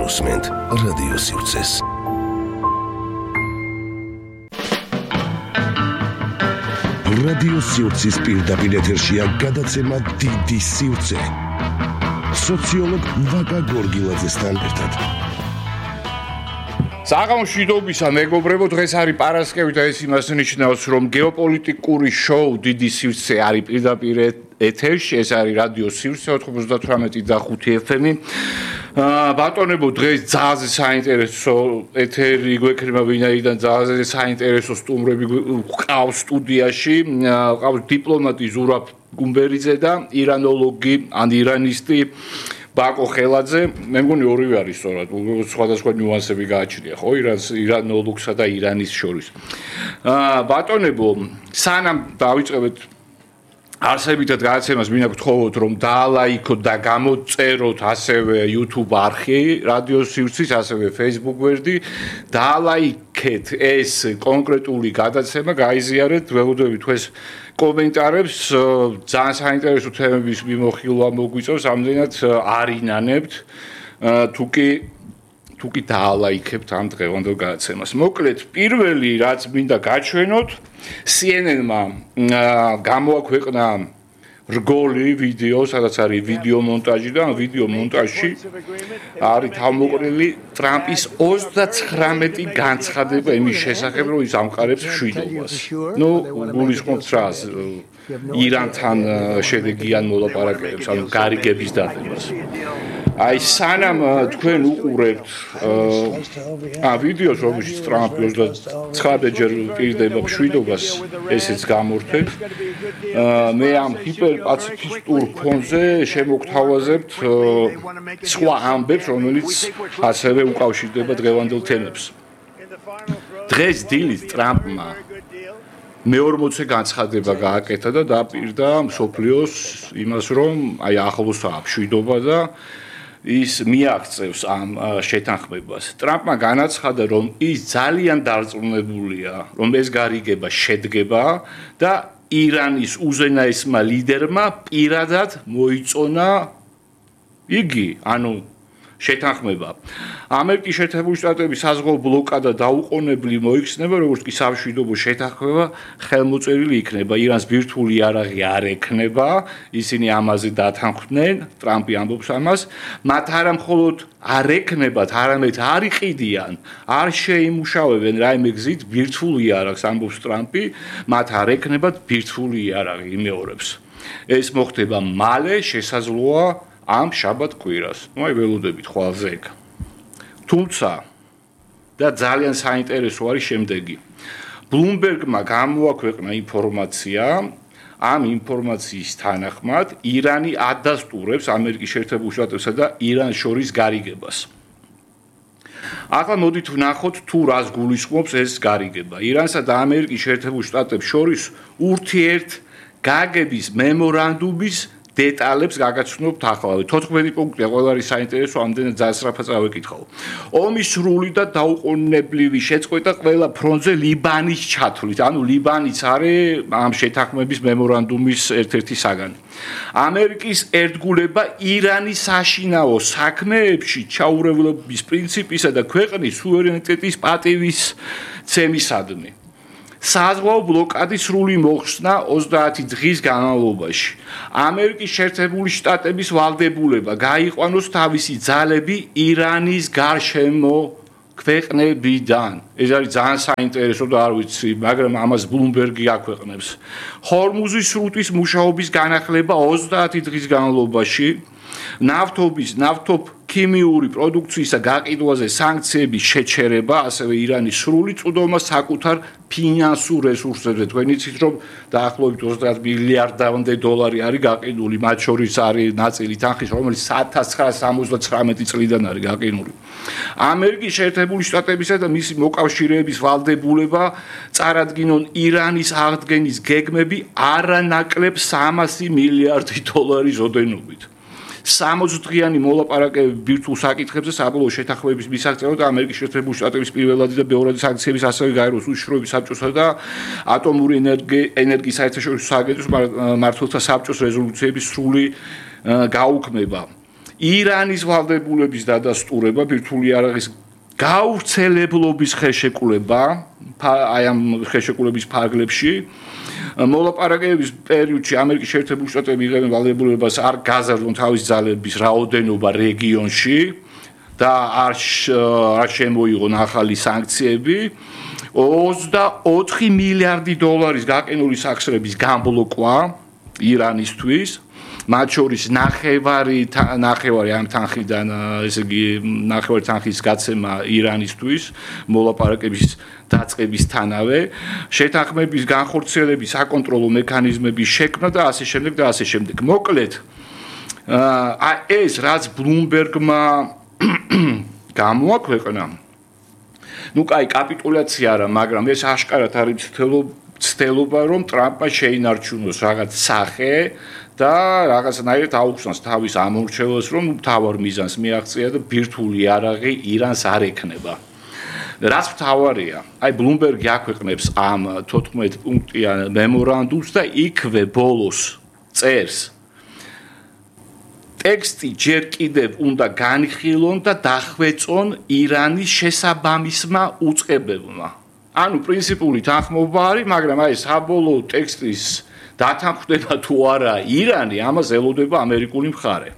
მოსმენთ რადიო სივრცეს. რადიო სივრცის პირდაპირ ეთერშია გადაცემა დიდი სივრცე. სოციოლოგ ვაკა გორგილაძესთან ერთად. საღამოშვიდობისა მეგობრებო, დღეს არის პარასკევი და ეს იმას ნიშნავს, რომ გეოპოლიტიკური შოუ დიდი სივრცე არის პირდაპირ ეთერში, ეს არის რადიო სივრცე 98.5 FM-ი. ბატონებო, დღეს ძალზე საინტერესო ეთერი გვექნება, ვინაიდან ძალზე საინტერესო სტუმრები გვყავს სტუდიაში, ყავს დიპლომატი ზურაბ გუმბერიძე და ირანოლოგი ან ირანისტი ბაკო ხელაძე. მე მგონი ორივე არის სწორად, სხვადასხვა ნიუანსები გააჩნია, ხო, ირანოლოგსა და ირანის შორის. ბატონებო, სანამ დავიწყებთ არსებითად გადაცემას, მინდა გთხოვოთ, რომ დაალაიქოთ და გამოწეროთ ასევე YouTube არხი რადიო სივრცის, ასევე Facebook გვერდი. დაალაიქეთ ეს კონკრეტული გადაცემა, გაიზიარეთ, ველოდებით თქვენს კომენტარებს, ძალიან საინტერესო თემების მიმოხილვა მოგვიწევს, ამდენად არ ინანებთ, თუ კი დაალაიქებთ ამ დღევანდელ გადაცემას. მოკლედ, პირველი რაც მინდა გაჩვენოთ, CNN-მა გამოაქვეყნა რგოლი ვიდეო, სადაც არის ვიდეო მონტაჟი და ამ ვიდეო მონტაჟში არის თავმოყრილი ტრამპის 39 განცხადება იმის შესახებ, რომ ის ამყარებს მშვიდობას. გულისხმობთ რას? ირანთან შედეგიან მოლაპარაკებებს, ანუ გარიგების დადებას. აი, სანამ თქვენ უყურებთ ვიდეოს, რომელშიც ტრამპი 39-ჯერ პირდება მშვიდობას, ესეც გამორთეთ. მე ამ ჰიპერპაციფისტურ ფონზე შემოგთავაზებთ სხვა ამბებს, რომელიც ასევე უკავშირდება დღევანდელ თემებს. დღეს დილით ტრამპმა მე-40 განცხადება გააკეთა და დაპირდა მსოფლიოს იმას, რომ აი ახლოსაა მშვიდობა და ის მიაღწევს ამ შეთანხმებას. ტრამპმა განაცხადა, რომ ის ძალიან დარწმუნებულია, რომ ეს გარიგება შედგება და ირანის უზენაესმა ლიდერმა პირადად მოიწონა იგი, ანუ შეთანხმება. ამერიკის შეერთებული შტატების საზღვაო ბლოკადა დაუყოვნებლივ მოიხსნება, როგორც კი სამშვიდობო შეთანხმება ხელმოწერილი იქნება. ირანს ბირთვული იარაღი არ ექნება, ისინი ამაზე დათანხმდნენ, ტრამპი ამბობს ამას. მათ არა მხოლოდ არ ექნებათ, არამედ არ იყიდიან, არ შეიმუშავებენ რაიმე გზით ბირთვულ იარაღს, ამბობს ტრამპი, მათ არ ექნებათ ბირთვული იარაღი, იმეორებს. ეს მოხდება მალე, შესაძლოა ამ შაბათ კვირას. აი ველოდებით ხვალზე ეგ. თუმცა და ძალიან საინტერესო არის შემდეგი. Bloomberg-მა გამოაქვეყნა ინფორმაცია, ამ ინფორმაციის თანახმად ირანი ადასტურებს ამერიკის შეერთებულ შტატებსა და ირანს შორის გარიგებას. ახლა მოდით ვნახოთ თუ რას გულისხმობს ეს გარიგება. ირანსა და ამერიკის შეერთებულ შტატებს შორის ურთიერთგაგების მემორანდუმის დეტალებს გაგაცნობთ ახლავე. 14 პუნქტია, ყველა არის საინტერესო, ამდენად ძასრაფად წავეკითხავ. ომის სრული და დაუყოვნებლივი შეწყვეტა ყველა ფრონტზე ლიბანის ჩათვლით. ანუ ლიბანიც არის ამ შეთანხმების მემორანდუმის ერთ-ერთი საგანი. ამერიკის ერთგულება ირანის საშინაო საქმეებში ჩაურევლობის პრინციპისა და ქვეყნის სუვერენიტეტის პატივისცემისადმი. საზღვაო ბლოკადის სრული მოხსნა 30 დღის განმავლობაში. ამერიკის შეერთებული შტატების ვალდებულება გაიყვანოს თავისი ძალები ირანის გარშემო ქვეყნებიდან. ეს არის ძალიან საინტერესო და არ ვიცი, მაგრამ ამას Bloomberg-ი აქვეყნებს. ჰორმუზის სრუტის მუშაობის განახლება 30 დღის განმავლობაში. ნავთობქიმიური პროდუქციისა გაყიდვაზე სანქციების შეჩერება, ასევე ირანის სრული წვდომა საკუთარ ფინანსურ რესურსებზე. თქვენ იცით, რომ დაახლოებით 30 მილიარდამდე დოლარი არის გაყიდული, მათ შორის არის ნაწილი თანხის, რომელიც 1979 წლიდან არის გაყიდული. ამერიკის შეერთებული შტატებისა და მისი მოკავშირეების ვალდებულება წარადგინონ ირანის აღდგენის გეგმები არანაკლებ 300 მილიარდი დოლარის ოდენობით. 60 დღიანი მოლაპარაკებები ბირთვულ საკითხებზე საბოლოო შეთანხმების მისაღწევად და ამერიკის შეერთებული შტატების პირველადი და მეორადი სანქციების ასევე გაეროს უშიშროების საბჭოსა და ატომური ენერგიის საერთაშორისო სააგენტოს მმართველთა საბჭოს რეზოლუციების სრული გაუქმება. ირანის ვალდებულების დადასტურება, ბირთვული იარაღის გავრცელებლობის ხელშეკრულება, აი ამ ხელშეკრულების ფარგლებში, მოლაპარაკებების პერიოდში ამერიკის შეერთებული შტატები იღებენ ვალდებულებას არ გაზარდონ თავის ძალების რაოდენობა რეგიონში და არ შემოიღონ ახალი სანქციები. 24 მილიარდი დოლარის გაყინული სახსრების გამბლოკვა ირანისთვის, მათ შორის ნახევარი ამ თანხიდან, ესე იგი ნახევარი თანხის გაცემა ირანისთვის მოლაპარაკების დაწყების თანავე, შეთანხმების განხორციელების საკონტროლო მექანიზმების შექმნა და ასე შემდეგ და ასე შემდეგ. მოკლედ, ეს რაც ბლუმბერგმა გამოაქვეყნა, ну კაი კაპიტულაცია არა, მაგრამ ეს აშკარად არის ცდელობა, რომ ტრამპმა შეინარჩუნოს რაღაც სახე და რაღაცნაირად აუხსნას თავის ამორჩევას, რომ მთავარ მიზანს მიაღწია და ბირთვული იარაღი ირანს არ ექნება. რაც მთავარია, აი ბლუმბერგი აქვეყნებს ამ 14 პუნქტიან მემორანდუმს და იქვე ბოლოს წერს ტექსტი ჯერ კიდევ უნდა განხილონ და დახვეწონ ირანის შესაბამისმა უწყებებმა. ანუ პრინციპული თანხმობა არის, მაგრამ აი საბოლოო ტექსტის დათანხმდება თუ არა ირანი, ამას ელოდება ამერიკული მხარე.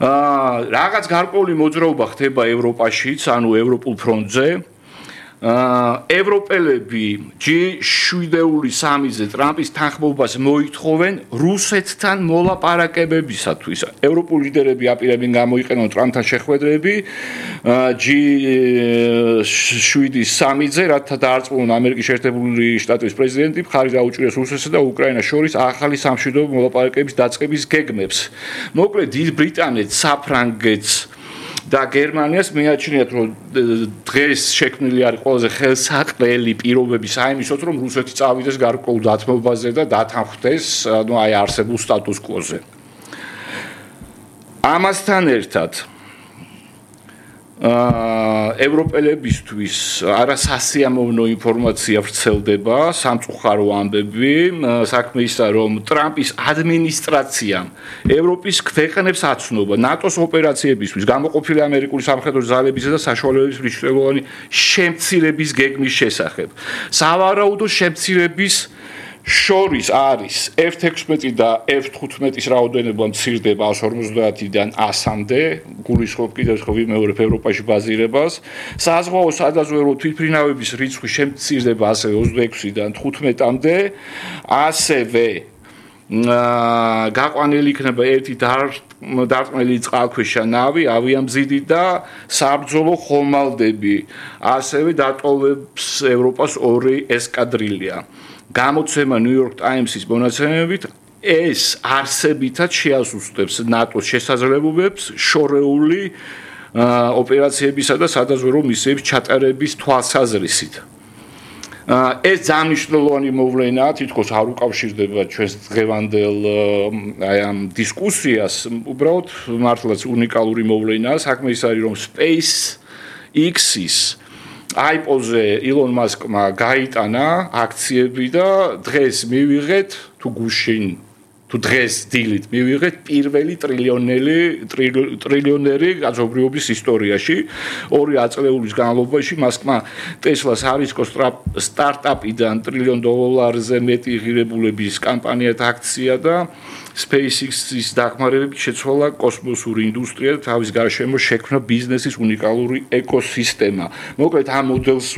რაღაც გარკვეული მოძრაობა ხდება ევროპაშიც, ანუ ევროპულ ფრონტზე. ევროპელები G7-ზე ტრამპის თანხმობას მოითხოვენ რუსეთთან მოლაპარაკებებისათვის. ევროპული ლიდერები აპირებენ გამოიყენონ ტრამპთან შეხვედრები G7-ზე, რათა დაარწმუნონ ამერიკის შეერთებული შტატების პრეზიდენტი მხარი დაუჭიროს რუსეთსა და უკრაინას შორის ახალი სამშვიდობო მოლაპარაკებების დაწყების გეგმებს. მოკლედ, დიდ ბრიტანეთს, საფრანგეთს და გერმანიას მიაჩნიათ, რომ დღეს შექმნილი არის ყველაზე ხელსაყრელი პირობები საიმისოდ, რომ რუსეთი წავიდეს გარკვეულ დათმობაზე და დათანხმდეს, ანუ აი არსებულ სტატუს კვოზე. ამასთან ერთად ევროპელებისთვის არასასიამოვნო ინფორმაცია ვრცელდება, სამწუხარო ამბები, საქმე ისაა, რომ ტრამპის ადმინისტრაციამ ევროპის ქვეყნებს აცნობა ნატოს ოპერაციებისთვის გამოყოფილი ამერიკული სამხედრო ძალებისა და საშუალებების მნიშვნელოვანი შემცირების გეგმის შესახებ. სავარაუდო შემცირების შორის არის F-16 და F-15-ის რაოდენობა მცირდება 150-დან 100-მდე, გულისხმობ კიდევ ვიმეორებ ევროპაში ბაზირებას. საზღვაო სადაზვერვო თვითმფრინავების რიცხვი შემცირდება ასევე 26-დან 15-მდე, ასევე გაყვანილი იქნება ერთი დარტყმელი წყალქვეშა ნავი, ავიამზიდი და საბრძოლო ხომალდები, ასევე დატოვებს ევროპას 2 ესკადრილია. გამოცემა New York Times-ის მონაცემებით ეს არსებითად შეასუსტებს ნატოს შესაძლებლობებს შორეული ოპერაციებისა და სადაზვერვო მისიების ჩატარების თვალსაზრისით. ეს ძალიან მნიშვნელოვანი მოვლენაა, თითქოს არ უკავშირდება ჩვენს დღევანდელ აი ამ დისკუსიას, უბრალოდ მართლაც უნიკალური მოვლენაა. საქმე ის არის, რომ SpaceX-ის iPhone-ზე ილონ მასკმა გაიტანა აქციები და დღეს მივიღეთ თუ გუშინ თუ დღეს დილით მივიღეთ პირველი ტრილიონერი კაცობრიობის ისტორიაში. 2 აწლეულის განმავლობაში მასკმა Tesla-ს არისკო სტარტაპიდან $1 ტრილიონზე მეტი ღირებულების კამპანიად აქცია და SpaceX-ის დახმარებით შეცვალა კოსმოსური ინდუსტრია და თავის გარშემო შექმნა ბიზნესის უნიკალური ეკოსისტემა. მოკლედ ამ მოდელს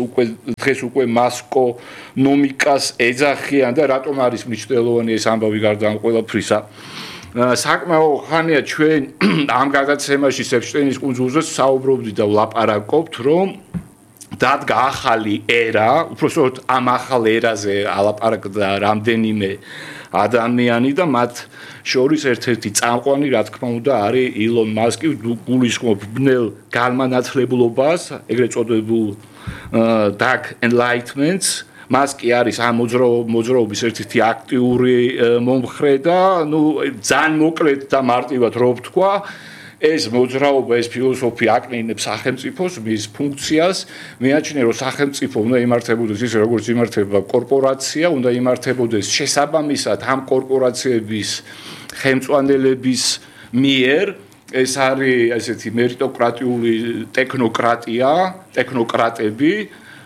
დღეს უკვე მასკონომიკას ეძახიან და რატომ არის მნიშვნელოვანი ეს ამბავი გარდა ამ ყველაფრისა. საკმაო ხანია ჩვენ ამ გადაცემაში ეფშტეინის კუნძულზე საუბრობდით და ვლაპარაკობთ, რომ დადგა ახალი ერა, უბრალოდ ამ ახალ ერაზე ალაპარაკდა რამდენიმე ადამიანი და მათ შორის ერთ-ერთი წამყვანი, რა თქმა უნდა, არის ილონ მასკი, გულისხმობ ბნელ განმანათლებლობას, ეგრეთ წოდებულ dark enlightenments. მასკი არის ამ მოძრაობის ერთ-ერთი აქტიური მომხრე და ძალიან მოკლედ და მარტივად რო ვთქვა, ეს მოძრაობა, ეს ფილოსოფია აკნინებს სახელმწიფოს, მის ფუნქციას, მეაჩნია, რომ სახელმწიფო უნდა იმართებოდეს ისე, როგორც იმართება კორპორაცია, უნდა იმართებოდეს შესაბამისად ამ კორპორაციების ხელმძღვანელების მიერ ეს არის ესეთი мерიტოკრატიული ტექნოკრატები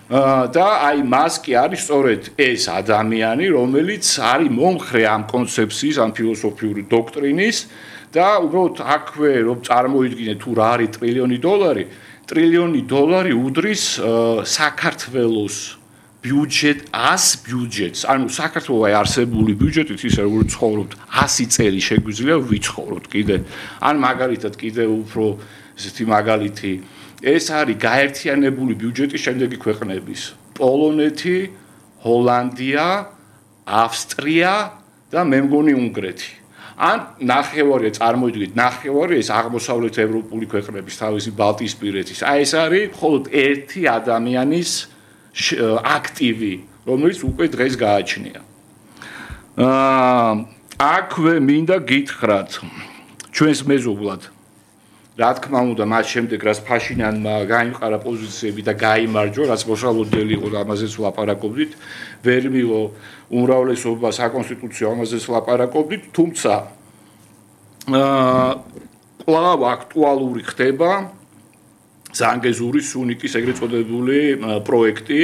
და აი მას კი არის სწორედ ეს ადამიანი, რომელიც არის მომხრე ამ კონცეფციის, ამ ფილოსოფიური დოქტრინის და უბრალოდ აქვე რომ წარმოიდგინეთ თუ რა არის ტრილიონი დოლარი უდრის საქართველოს ბიუჯეტს, ანუ საქართველოს არსებული ბიუჯეტით ისე როგორც ცხოვრობთ 100 წელი შეგვიძლია ვიცხოვროთ კიდე. ან მაგალითად კიდე უფრო ესეთი მაგალითი ეს არის გაერთიანებული ბიუჯეტი შემდეგი ქვეყნების: პოლონეთი, ჰოლანდია, ავსტრია და მე მგონი უნგრეთი. ან ნახევარი წარმოიდგინეთ, ეს აღმოსავლეთ ევროპული ქვეყნების თავისი ბალტიისპირეთის. აი ეს არის მხოლოდ ერთი ადამიანის აქტივი, რომელიც უკვე დღეს გააჩნია. აქვე მინდა გითხრათ ჩვენს მეზობლად. რა თქმა უნდა, მას შემდეგ რაც ფაშინიანმა გაიმყარა პოზიციები და გაიმარჯვა, რაც მოსალოდნელი იყო და ამაზეც ვლაპარაკობდით, ვერ მიიღო უმრავლესობა საკონსტიტუციო ამაზეც ვლაპარაკობდით, თუმცა კვლავ აქტუალური ხდება ზანგეზურის სუნიკის ეგრეთ წოდებული პროექტი.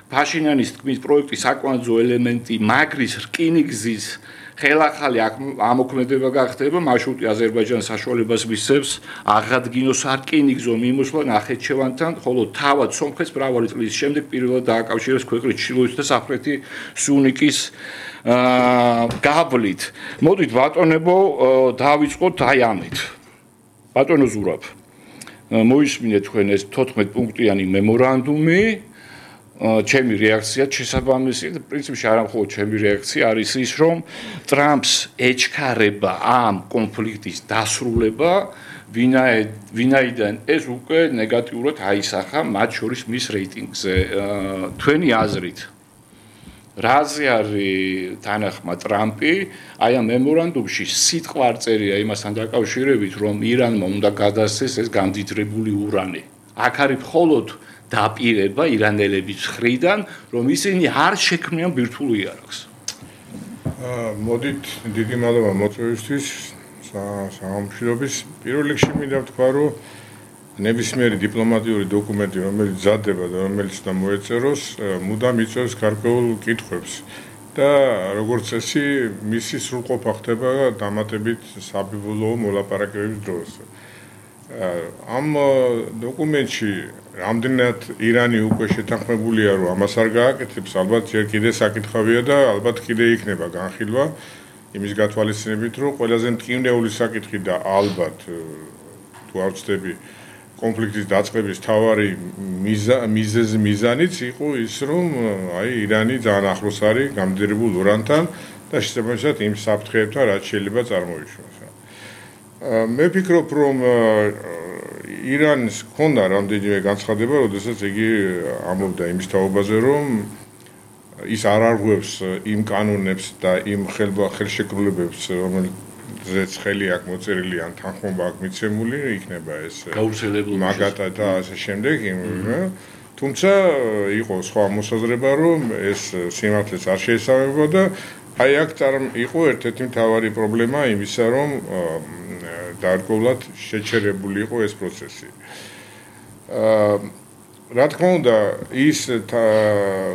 ფაშინიანის თქმის პროექტი საკვანძო ელემენტი მაგრის რკინიგზის ხელახალი ამოქმედება გახდება, მარშრუტი აზერბაიჯანის საშუალებას მისცემს აღადგინოს რკინიგზო მიმოსვლა ნახეჩევანთან, ხოლო თავად სომხეთს მრავალი წლის შემდეგ პირველად დააკავშირებს ქვეყნის ჩრდილოეთ და სამხრეთი სუნიკის გავლით. მოდით ბატონებო, დავიწყოთ აი ამით. ბატონო ზურაბ, მოისმინეთ თქვენ ეს 14 პუნქტიანი მემორანდუმი. ჩემი რეაქცია შესაბამისი და პრინციპში არა მხოლოდ ჩემი რეაქცია არის ის, რომ ტრამპს ეჩქარება ამ კონფლიქტის დასრულება, ვინაიდან ეს უკვე ნეგატიურად აისახა მათ შორის მის რეიტინგზე. თქვენი აზრით, რაზე არის თანახმა ტრამპი აი ამ მემორანდუმში სიტყვა არ წერია იმასთან დაკავშირებით, რომ ირანმა უნდა გადასცეს ეს გამდიდრებული ურანი. აქ არის მხოლოდ დაპირება ირანელების მხრიდან, რომ ისინი არ შექმნიან ბირთვულ იარაღს. მოდით, დიდი მადლობა მოწვევისთვის, სამშვიდობის. პირველ რიგში მინდა ვთქვა, რომ ნებისმიერი დიპლომატიური დოკუმენტი, რომელიც მზადდება და რომელიც უნდა მოეწეროს, მუდამ იწვევს გარკვეულ კითხვებს და როგორც წესი, მისი სრულყოფა ხდება დამატებით საბიბულო მოლაპარაკებების დროს. ამ დოკუმენტში რამდენად ირანი უკვე შეთანხმებულია, რომ ამას არ გააკეთებს, ალბათ ჯერ კიდე საკითხავია და ალბათ კიდე იქნება განხილვა იმის გათვალისწინებით, რომ ყველაზე მტკივნეული საკითხი და ალბათ თუ არ ვცდები კონფლიქტის დაწყების თავარი მიზანიც იყო ის, რომ აი ირანი ძალიან ახლოს არის გამდიდრებულ ურანთან და შესაბამისად იმ საფრთხეებთან, რაც შეიძლება წარმოიშვას. მე ვფიქრობ, რომ ირანს ჰქონდა რამდენიმე განცხადება, როდესაც იგი ამბობდა იმის თაობაზე, რომ ის არ არღვევს იმ კანონებს და იმ ხელშეკრულებებს, რომელზეც ხელი აქვს მოწერილი ან თანხმობა აქვს მიცემული, იქნება ეს მაგათა და ასე შემდეგ. თუმცა იყო სხვა მოსაზრება, რომ ეს სიმართლეს არ შეესაბამება და აი აქ იყო ერთ-ერთი მთავარი პრობლემა იმისა, რომ დაარღვევლად შეჩერებული იყო ეს პროცესი. რა თქმა უნდა, ის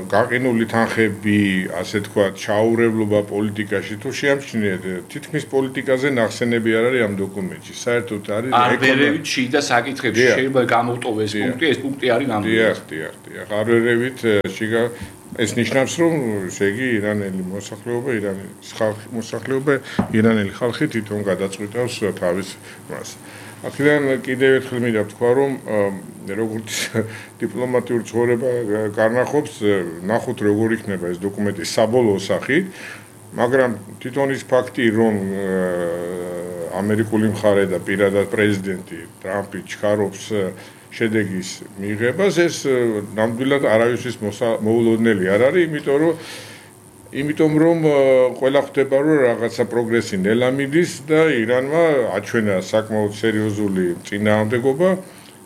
გაყინული თანხები, ასე თქვა, ჩაურევლობა პოლიტიკაში თუ შეამჩნიეთ, თითქმის პოლიტიკაზე ნახსენები არ არის ამ დოკუმენტში. საერთოდ არის არბერევით შიდა საკითხებში შეიძლება გამოვტოვეს პუნქტი, ეს პუნქტი არის ნამდვილად. დიახ, არბერევით შიგა ეს ნიშნავს, რომ ესე იგი ირანელი ირანელი ხალხი თვითონ გადაწყვეტავს თავის მას. აქედან კიდევ ერთხელ მინდა ვთქვა, რომ როგორც დიპლომატიური ცხოვრება გარნახობს, ნახოთ როგორ იქნება ეს დოკუმენტი საბოლოო სახით, მაგრამ თვითონ ის ფაქტი, რომ ამერიკული მხარე და პირადად პრეზიდენტი ტრამპი ჩქარობს შედეგის მიღებას, ეს ნამდვილად არავისთვის მოულოდნელი არ არის, იმიტომ რომ ყველა ხვდება, რომ რაღაცა პროგრესი ნელა მიდის და ირანმა აჩვენა საკმაოდ სერიოზული წინააღმდეგობა.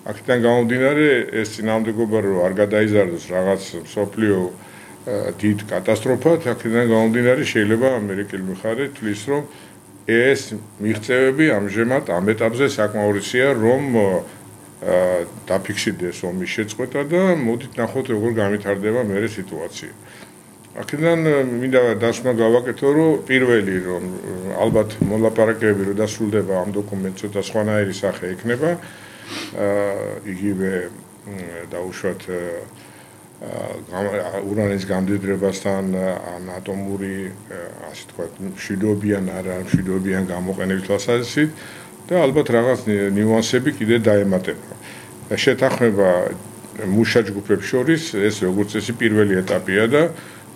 აქედან გამომდინარე, ეს წინააღმდეგობა რომ არ გადაიზარდოს რაღაც მსოფლიო დიდ კატასტროფად, აქედან გამომდინარე შეიძლება ამერიკელი მხარე თვლის, რომ ეს მიღწევები ამჟამად ამ ეტაპზე საკმაურია, რომ დაფიქსირდეს ომის შეწყვეტა და მოდით ნახოთ როგორ განვითარდება მერე სიტუაცია. აქედან მინდა დასმა გავაკეთო, რომ პირველი რომ ალბათ მოლაპარაკებები რომ დასრულდება ამ დოკუმენტს ცოტა სხვანაირი სახე ექნება, იგივე დაუშვათ ურანის გამდიდრებასთან ან ატომური ასე თქვა მშვიდობიან არა მშვიდობიან გამოყენების თვალსაზრისით და ალბათ რაღაც ნიუანსები კიდე დაემატება. შეთანხმება მუშა ჯგუფებს შორის ეს როგორც წესი პირველი ეტაპია და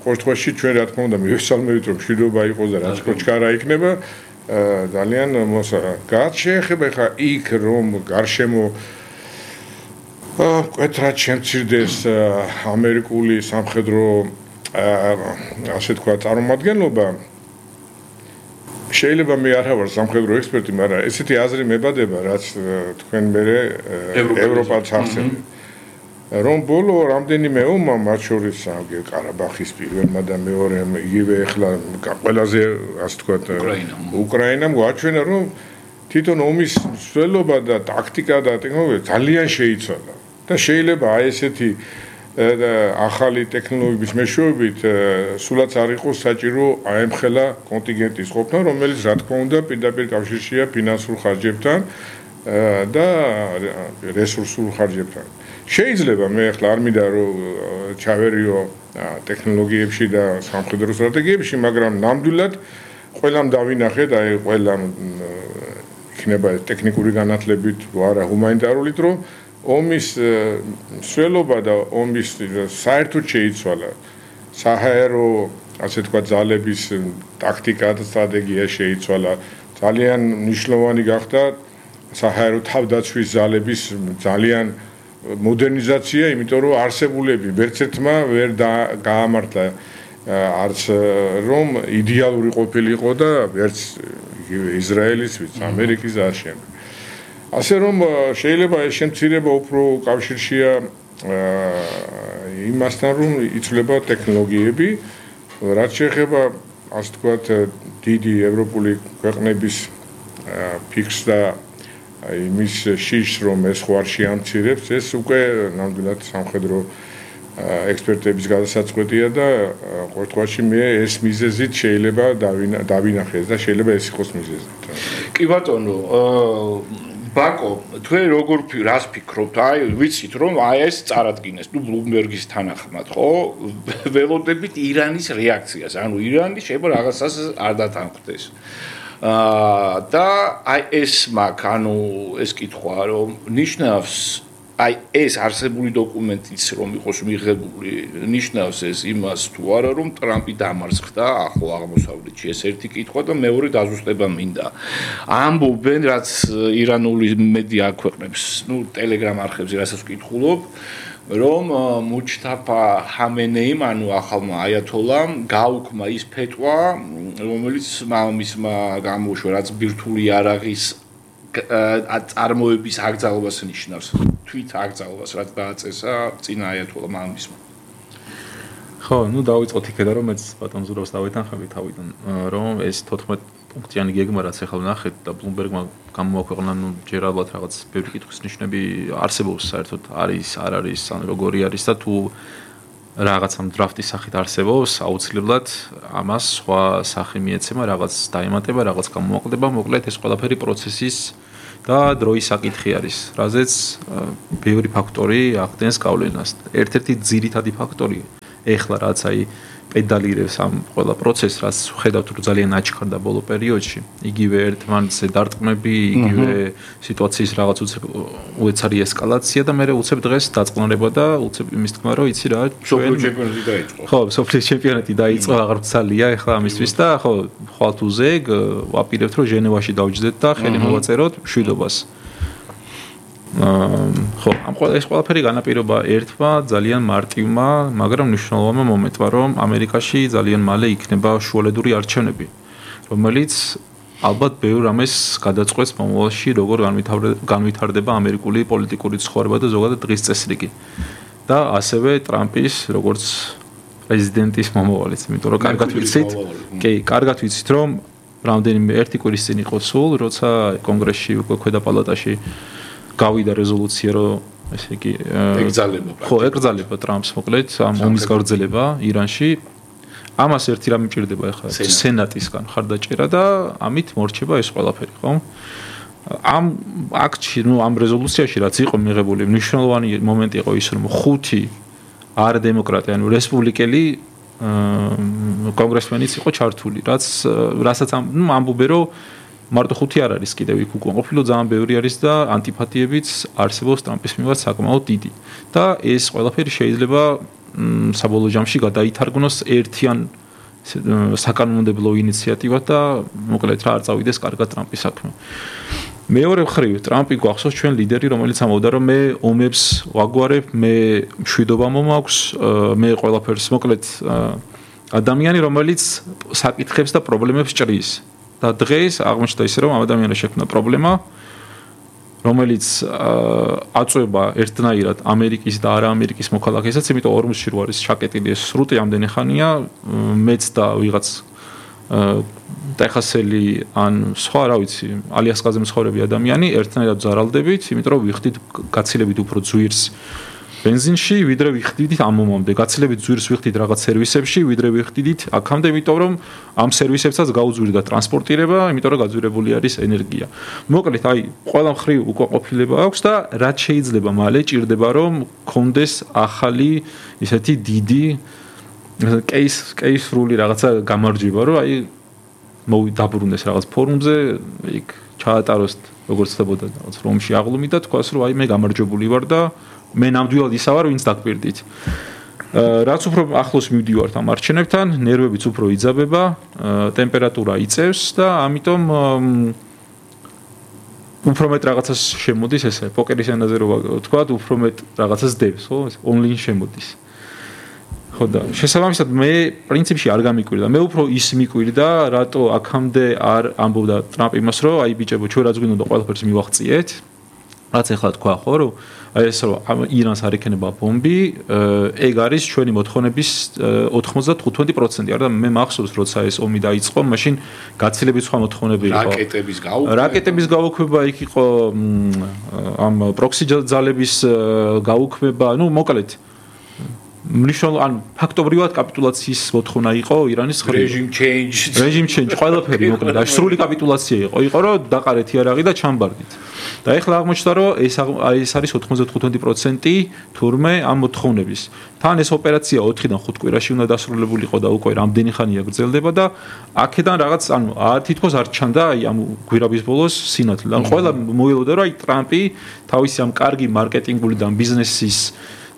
ყოველთვის ჩვენ რა თქმა უნდა მივესალმებით რომ მშვიდობა იყოს და რაც კოჩკარა იქნება ძალიან გაც შეეხება ხა იქ რომ გარშემო კეთრად შემცირდეს ამერიკული სამხედრო ასე თქვა წარმომადგენლობა შეიძლება მე არ ვარ სამხედრო ექსპერტი, მაგრამ ესეთი აზრი მებადება, რაც თქვენ მერე ევროპას ახსენებთ. რომ ბოლო რამდენიმე ომმა მათ შორის ყარაბახის პირველმა და მეორემ იგივე ახლა ყველაზე ასე თქვა უკრაინამ გვაჩვენა რომ თვითონ ომის მსვლელობა და ტაქტიკა და ტექნოლოგია ძალიან შეიცვალა და შეიძლება აი ესეთი ახალი ტექნოლოგიების მეშვეობით სულაც არ იყოს საჭირო აემხელა კონტინგენტის ყოფნა, რომელიც რა თქმა უნდა პირდაპირ კავშირშია ფინანსურ ხარჯებთან და რესურსულ ხარჯებთან. შეიძლება მე ახლა არ მინდა რომ ჩავერიო ტექნოლოგიებში და სამხედრო სტრატეგიებში, მაგრამ ნამდვილად ყველამ დავინახეთ, აი ყველამ იქნება ტექნიკური განათლებით არა ჰუმანიტარულით, რომ ომის მსვლელობა და ომის საერთოდ შეიცვალა. საჰაერო, ასე თქვა, ძალების ტაქტიკა და სტრატეგია შეიცვალა. ძალიან მნიშვნელოვანი გახდა საჰაერო თავდაცვის ძალების ძალიან მოდერნიზაცია, იმიტომ რომ არსებულები ვერცერთმა ვერ გაამართლა არც რომ იდეალური ყოფილიყო და ვერც ისრაელის, ვიც ამერიკის და შემდეგ. ასე რომ შეიძლება ეს შემცირება უფრო კავშირშია იმასთან რომ იცვლება ტექნოლოგიები, რაც შეეხება ასე ვთქვათ დიდი ევროპული ქვეყნების ფიქს და იმის შიშს რომ ეს ხوار შეამცირებს, ეს უკვე ნამდვილად სამხედრო ექსპერტების გადასაწყვეტია და ყოველთვის მე ეს მიზეზით შეიძლება დავინახეს და შეიძლება ეს იყოს მიზეზით. კი ბატონო, ბაკო, თქვენ როგორ რას ფიქრობთ? აი, ვიცით რომ აი ეს წარადგინეს, ნუ ბლუმბერგის თანახმად, ხო? ველოდებით ირანის რეაქციას, ანუ ირანი შეიძლება რაღაცას არ დათანხმდეს. და აი ეს მაქვს, ანუ ეს კითხვა, რომ ნიშნავს აი ეს არსებული დოკუმენტიც რომ იყოს მიღებული, ნიშნავს ეს იმას თუ არა რომ ტრამპი დამარცხდა ახლო აღმოსავლეთში, ეს ერთი კითხვა და მეორე დაზუსტება მინდა. ამბობენ, რაც ირანული მედია აქვეყნებს, ნუ ტელეგრამ არხებზე რასაც ვკითხულობ, რომ მუჯთაბა ჰამენეიმ, ანუ ახალმა აიათოლამ გაუქმა ის ფეტვა, რომელიც მამამისმა გამოუშვა, რაც ბირთვული იარაღის წარმოების აკრძალვას ნიშნავს, თვით აკრძალვას, რაც დააწესა წინა აიათოლა მამამისმა. ხო, ნუ დავიწყოთ იქედან, რომ მეც ბატონ ზურაბს დავეთანხმები თავიდან, რომ ეს 14 პუნქტიანი გეგმა, რაც ახლა ვნახეთ და ბლუმბერგმა გამოაქვეყნა, ნუ ჯერ ალბათ რაღაც ბევრი კითხვის ნიშნები არსებობს, საერთოდ არის, არ არის, ან როგორი არის და თუ რაღაც ამ დრაფტის სახით არსებობს, აუცილებლად ამას სხვა სახე მიეცემა, რაღაც დაემატება, რაღაც გამოაკლდება, მოკლედ ეს ყველაფერი პროცესის და დროის საკითხი არის, რაზეც ბევრი ფაქტორი ახდენს გავლენას. ერთ-ერთი ძირითადი ფაქტორი ეხლა რაც აი პედალირებს ამ ყველა პროცესს, რაც ხედავთ რომ ძალიან აჩქარდა ბოლო პერიოდში, იგივე ერთმანეთზე დარტყმები, იგივე სიტუაციის რაღაც უეცარი ესკალაცია და მე უცებ დღეს დაწყნარება და უცებ იმის თქმა რომ იცი რა, სოფლიო ჩემპიონატი დაიწყო. ხო, სოფლიო ჩემპიონატი დაიწყო, აღარ მცალია ახლა ამისთვის და ხო, ხვალთუზე ვაპირებთ რომ ჟენევაში დავჯდეთ და ხელი მოვაწეროთ მშვიდობას. ხო, ეს ყველაფერი განაპირობა ერთმა ძალიან მარტივმა, მაგრამ მნიშვნელოვანმა მომენტმა, რომ ამერიკაში ძალიან მალე იქნება შუალედური არჩევნები, რომელიც ალბათ ბევრ რამეს გადაწყვეტს მომავალში, როგორ განვითარდება ამერიკული პოლიტიკური ცხოვრება და ზოგადად დღის წესრიგი. და ასევე ტრამპის როგორც პრეზიდენტის მომავალიც, იმიტომ რომ კარგად ვიცით, რომ რამდენიმე ერთი კვირის წინ იყო სულ, როცა კონგრესში უკვე ქვედა პალატაში გავიდა რეზოლუცია, რომ ესე იგი ეკრძალება ტრამპს მოკლედ ამ ომის გაგრძელება ირანში. ამას ერთი რამე მჭირდება ახლა სენატისგან ხარდაჭერა და ამით მორჩება ეს ყველაფერი, ხო? ამ აქტში, ამ რეზოლუციაში რაც იყო მიღებული, მნიშვნელოვანი მომენტი იყო ის, რომ 5 არ დემოკრატი, ანუ რესპუბლიკელი კონგრესმენიც იყო ჩართული, რასაც ამბობენ, რომ მარტო 5 არ არის კიდევ იქ უკვე ყოფილი, ძალიან ბევრი არის და ანტიპათიებიც არსებობს ტრამპის მიმართ საკმაოდ დიდი. და ეს ყველაფერი შეიძლება საბოლოო ჯამში გადაითარგმნოს ერთიან საკანონმდებლო ინიციატივად და მოკლედ რა არ წავიდეს კარგად ტრამპის საქმე. მეორე მხრივ ტრამპი გვახსოვს ჩვენ ლიდერი, რომელიც ამბობდა, რომ მე ომებს ვაგვარებ, მე მშვიდობა მომაქვს, მე ყველაფერს მოკლედ ადამიანი, რომელიც საკითხებს და პრობლემებს ჭრის. და დღეს აღმოჩნდა ისე, რომ ამ ადამიანს შექმნა პრობლემა, რომელიც აწვება ერთნაირად ამერიკის და არა ამერიკის მოქალაქესაც, იმიტომ ორმოსში რო არის ჩაკეტილი ეს სრუტი ამდენი ხანია, მეც და ვიღაც ტეხასელი ან სხვა, რა ვიცი, ალიასკაზე მსხოვრები ადამიანი ერთნაირად ზარალდებით, იმიტომ რომ ვიხდით გაცილებით უფრო ძვირს ბენზინში, ვიდრე ვიხდით ამ მომამდე. გაცილებით ძვირს ვიხდით რაღაც სერვისებში, ვიდრე ვიხდით აქამდე, იმიტომ რომ ამ სერვისებსაც გაუძვირდა ტრანსპორტირება, იმიტომ რომ გაძვირებული არის ენერგია. მოკლედ, ყველა მხრივ უკვე ყოფილება აქვს და რაც შეიძლება მალე ჭირდება, რომ კონდეს ახალი ისეთი დიდი კეისრული რაღაცა გამარჯვება, რომ დაბრუნდეს რაღაც ფორუმზე, იქ ჩაატაროს როგორც ხდებოდა რაღაც რომში აღლუმი და თქვას, რომ მე გამარჯვებული ვარ და მე ნამდვილად ისა ვარ, ვინც დაგპირდით. რაც უფრო ახლოს მივდივართ ამ არჩევნებთან, ნერვებიც უფრო იძაბება, ტემპერატურა იწევს და ამიტომ უფრო მეტ რაღაცას შემოდის ესე, პოკერის ენაზე რო ვთქვა, უფრო მეტ რაღაცას დევს, ხო? ონლაინ შემოდის. ხო და შესაბამისად მე პრინციპში არ გამიკვირდა. მე უფრო ის მიკვირდა, რატო აქამდე არ ამბობდა ტრამპ იმას, რომ ბიჭებო, ჩვენ რაც გვინდოდა ყველაფერს მივაღწიეთ. რაც ახლა თქვა, ხო, რომ ეს რომ ირანს არ ექნება ბომბი, ეგ არის ჩვენი მოთხოვნების 95%. არა და მე მახსოვს, როცა ეს ომი დაიწყო, მაშინ გაცილებით სხვა მოთხოვნები იყო. რაკეტების გაუქმება იქ იყო, ამ პროქსი ძალების გაუქმება, მოკლედ მნიშვნელოვანი ფაქტობრივად კაპიტულაციის მოთხოვნა იყო ირანის რეჟიმ ჩეინჯ ყველაფერი მოკლედ სრული კაპიტულაცია იყო რომ დაყარეთ იარაღი და ჩამბარდით და ეხლა აღმოჩნდა რომ ეს არის 95% თურმე ამ მოთხოვნების თან ეს ოპერაცია 4-დან 5 კვირაში უნდა დასრულებულიყო და უკვე რამდენი ხანია გრძელდება და აქედან რაღაც თითქოს არ ჩანდა ამ გვირაბის ბოლოს სინათლე ან ყველა მოელოდა რომ ტრამპი თავისი ამ კარგი მარკეტინგული და ბიზნესის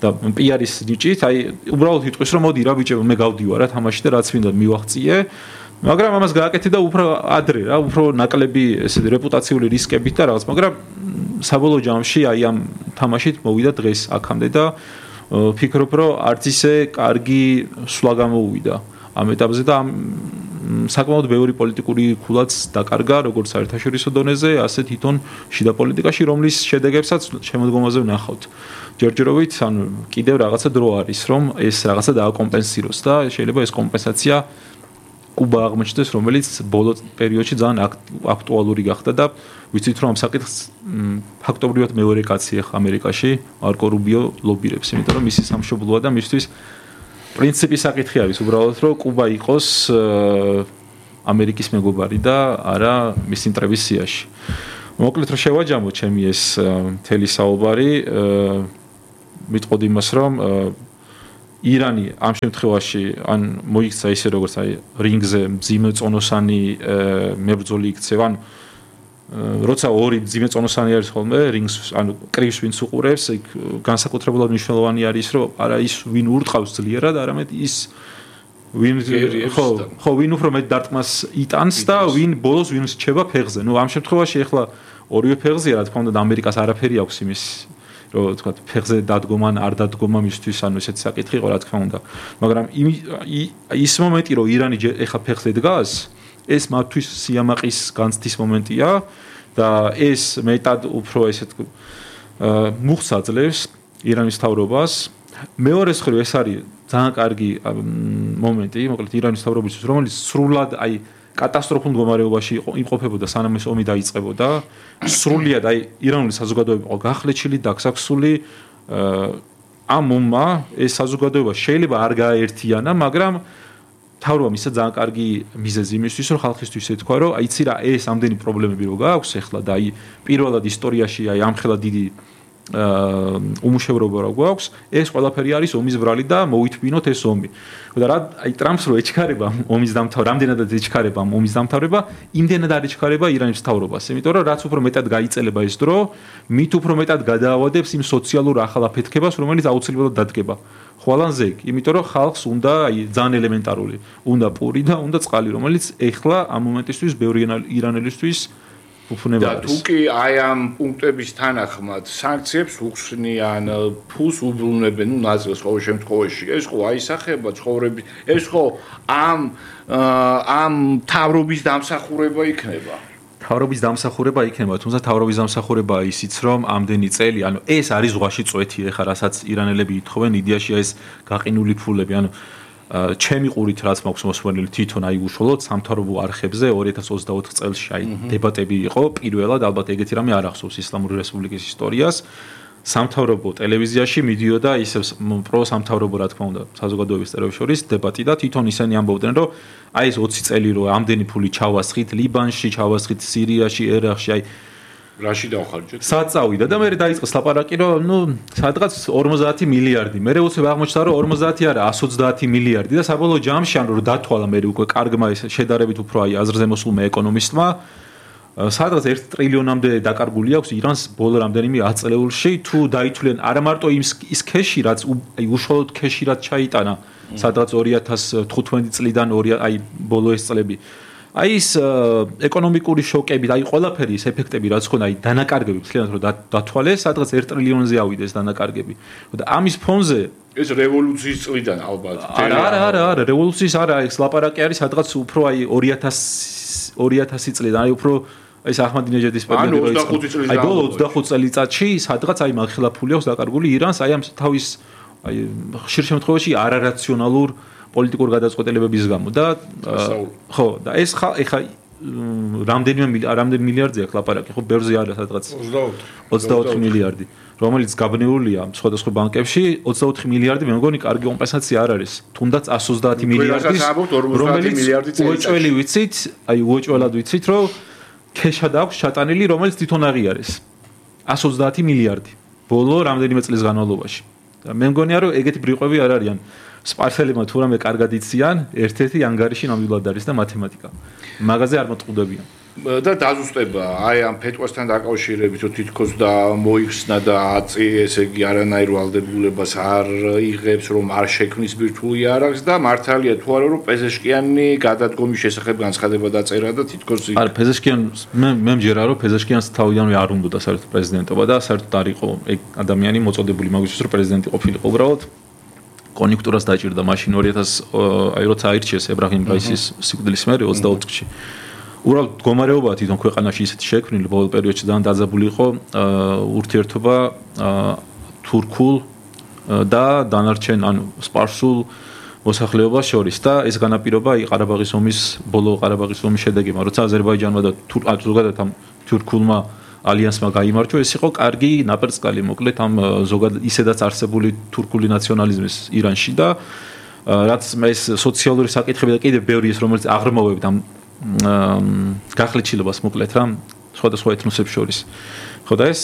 და პიარის ნიჭით, უბრალოდ იტყვის რომ მოდი რა ბიჭებო მე გავდივარ რა თამაში და რაც მინდა მივაღწიე, მაგრამ ამას გააკეთე და უფრო ადრე რა, უფრო ნაკლები ესე რეპუტაციული რისკებით და რაღაც, მაგრამ საბოლოო ჯამში ამ თამაშით მოვიდა დღეს აქამდე და ფიქრობ რომ არც ისე კარგი სვლა გამოუვიდა ამ ეტაპზე და საკმაოდ ბევრი პოლიტიკური ქულაც დაკარგა როგორც საერთაშორისო დონეზე, ასე თვითონ შიდა პოლიტიკაში, რომლის შედეგებსაც შემოდგომაზე ვნახავთ. ჯერჯერობით, კიდევ რაღაცა დრო არის, რომ ეს რაღაცა დააკომპენსიროს და შეიძლება ეს კომპენსაცია კუბა აღმოჩნდეს, რომელიც ბოლო პერიოდში ძალიან აქტუალური გახდა და ვიცით რომ ამ საკითხს ფაქტობრივად მეორე კაცი ახლა ამერიკაში, მარკო რუბიო ლობირებს, იმიტომ რომ მისი სამშობლოა და მისთვის პრინციპი საკითხი არის უბრალოდ რომ კუბა იყოს ამერიკის მეგობარი და არა მის ინტერესის სიაში. მოკლედ რომ შევაჯამო ჩემი ეს მთელი საუბარი, მიტყოდი იმას რომ ირანი ამ შემთხვევაში ან მოიქცა ისე როგორც რინგზე მძიმე წონოსანი მებრძოლი იქცევა, ან როცა ორი მძიმე წონოსანი არის ხოლმე რინგს, ანუ კრივს ვინც უყურებს, იქ განსაკუთრებულად მნიშვნელოვანი არის რომ არა ის ვინ ურტყავს ძლიერად, არამედ ის ვინ ვინ უფრო მეტ დარტყმას იტანს და ვინ ბოლოს ვინ რჩება ფეხზე. ამ შემთხვევაში ახლა ორივე ფეხზეა, რა თქმა უნდა, ამერიკას არაფერი აქვს იმის რომ თქვა ფეხზე დადგომა ან არ დადგომა მისთვის, ანუ ესეთი საკითხი იყო, რა თქმა უნდა. მაგრამ ის მომენტი, რომ ირანი ეხა ფეხზე დგას, ეს მათთვის სიამაყის განცდის მომენტია და ეს მეტად უფრო ესეთ მუხს აძლევს ირანის მთავრობას. მეორე მხრივ ეს არის ძალიან კარგი მომენტი, მოკლედ ირანის მთავრობისთვის, რომელიც სრულად კატასტროფულ მდგომარეობაში იმყოფებოდა სანამ ეს ომი დაიწყებოდა. სრულიად ირანული საზოგადოება იყო გახლეჩილი, დაგსაქსული. ამ ომმა ეს საზოგადოება შეიძლება არ გააერთიანა, მაგრამ თავრობამ ისე ძალიან კარგი მიზეზი იმისთვის, რომ ხალხისთვის ეთქვა, რომ აიცი რა, ეს ამდენი პრობლემები რო გააქვს ახლა და პირველად ისტორიაში ამხელა დიდი უმუშევრობა რა გვაქვს, ეს ყველაფერი არის ომის ბრალი და მოვითმინოთ ეს ომი. და რა ტრამპს რო ეჩქარება ომის დამთავრება, რამდენადაც ეჩქარება ომის დამთავრება, იმდენად არ ეჩქარება ირანის მთავრობას. იმიტომ რომ რაც უფრო მეტად გაიწელება ეს დრო, მით უფრო მეტად გადაავადებს იმ სოციალურ ახალ აფეთქებას, რომელიც აუცილებლად დადგება. ხვალანზე იქ, იმიტომ რომ ხალხს უნდა ძალიან ელემენტარული, უნდა პური და უნდა წყალი, რომელიც ეხლა ამ მომენტისთვის ბევრი ირანელისთვის უფუნება არის. და თუ კი ამ პუნქტების თანახმად სანქციებს უხსნიან, ფულს უბრუნებენ, ნაწილს ყოველ შემთხვევაში, ეს ხო აისახება ცხოვრების, ეს ხო ამ თავრობის დამსახურება იქნება. თავრობის დამსახურება იქნება, თუმცა თავრობის დამსახურება ისიც, რომ ამდენი წელი, ეს არის ზღვაში წვეთი, ეხლა რასაც ირანელები ითხოვენ, იდეაშია ეს გაყინული ფულები, ჩემი ყურით რაც მაქვს მოსვენილი თვითონ უშუალოდ სამთავრობო არხებზე 2024 წელს დებატები იყო, პირველად ალბათ ეგეთი რამე არ ახსოვს ისლამური რესპუბლიკის ისტორიას. სამთავრობო ტელევიზიაში მიდიოდა ისევ პროსამთავრობო რა თქმა უნდა საზოგადოების წევრებს შორის დებატი და თვითონ ისინი ამბობდნენ რომ ეს 20 წელი რო ამდენი ფული ჩავასხით ლიბანში, ჩავასხით სირიაში, ერაყში, რაში დავხარჯეთ? საწავიდა და მე დაიწყეს ლაპარაკი რომ სადღაც 50 მილიარდი. მე უცებ აღმოჩნდა რომ 50 არა 130 მილიარდი და საბოლოო ჯამში რო დათვალა მე უკვე კარგმა ეს შედარებით უფრო აზრზე მოსულმა ეკონომისტმა სადღაც 1 ტრილიონამდე დაკარგული აქვს ირანს ბოლო რამდენიმე 10 წელიწადში თუ დაითვლიან არა მარტო ის ქეში რაც უშუალოდ ქეში რაც ჩაიტანა სადღაც 2015 წლიდან ბოლო ეს წლები ის ეკონომიკური შოკები და ყველაფერი ეს ეფექტები რაც ხონდა დანაკარგები მთლიანად რომ დათვალეს სადღაც 1 ტრილიონზე ავიდეს დანაკარგები და ამის ფონზე ეს რევოლუციის წლიდან ალბათ არა რევოლუციის არა ეს ლაპარაკი არის სადღაც უფრო 2000 წლიდან უფრო ეს აჰმადინეჯადის პერიოდი იყო ბოლო 25 წელიწადში სადღაც მაღხელაფული აქვს დაკარგული ირანს ამ თავის ხშირ შემთხვევაში არარაციონალურ პოლიტიკურ გადაწყვეტილებების გამო და ხო და ეს ხა რამდენი მილიარდზე აქვს ლაპარაკი ხო ბევრზე არა სადღაც 24 მილიარდი რომელიც გაბნეულია სხვადასხვა ბანკებში 24 მილიარდი მე მგონი კარგი კომპენსაცია არ არის თუნდაც 130 მილიარდის რომელიც უეჭველი ვიცით უეჭველად ვიცით რომ ქეშად აქვს ჩატანილი რომელიც თვითონ აღიარეს 130 მილიარდი ბოლო რამდენიმე წლის განმავლობაში და მე მგონია რომ ეგეთი ბრიყვები არ არიან სპარსელებმა თუ რამე კარგად იციან ერთ-ერთი ანგარიში ნამდვილად არის და მათემატიკა მაგაზე არ მოწყობდებიან და დაზუსტება ამ ფეტვასთან დაკავშირებით რომ თითქოს და მოიხსნა და აწი ესე იგი არანაირ ვალდებულებას არ იღებს რომ არ შექმნის ბირთვული არახს და მართალია თუ არა რომ პეზეშკიანი გადადგომის შესახებ განცხადება დაწერა და თითქოს არა პეზეშკიანს მე მჯერა რომ პეზეშკიანს თავიდანვე არ უნდოდა საერთოდ პრეზიდენტობა და საერთოდ არ იყო ეგ ადამიანი მოწოდებული მაგისთვის რომ პრეზიდენტი ყოფილიყო უბრალოდ კონიუნქტურას დაჭირდა მაშინ 2000 როცა აირჩიეს ებრაჰიმ რაისის სიკვდილის მერე 24 წლში უბრალოდ მდგომარეობა თვითონ ქვეყანაში ისეთი შექმნილი ბოლო პერიოდში ძალიან დაძაბული იყო ურთიერთობა თურქულ და დანარჩენ სპარსულ მოსახლეობას შორის და ეს განაპირობა ყარაბაღის ომის ბოლო ყარაბაღის ომის შედეგებმა როცა აზერბაიჯანმა და ზოგადად ამ თურქულმა ალიანსმა გაიმარჯვა ეს იყო კარგი ნაპერწკალი მოკლედ ამ ზოგადად ისედაც არსებული თურქული ნაციონალიზმის ირანში და რაც ეს სოციალური საკითხები და კიდევ ბევრი ის რომელიც აღრმავებდა ამ გახლეჩილებას მოკლედ რა სხვადასხვა ეთნოსებს შორის ხო და ეს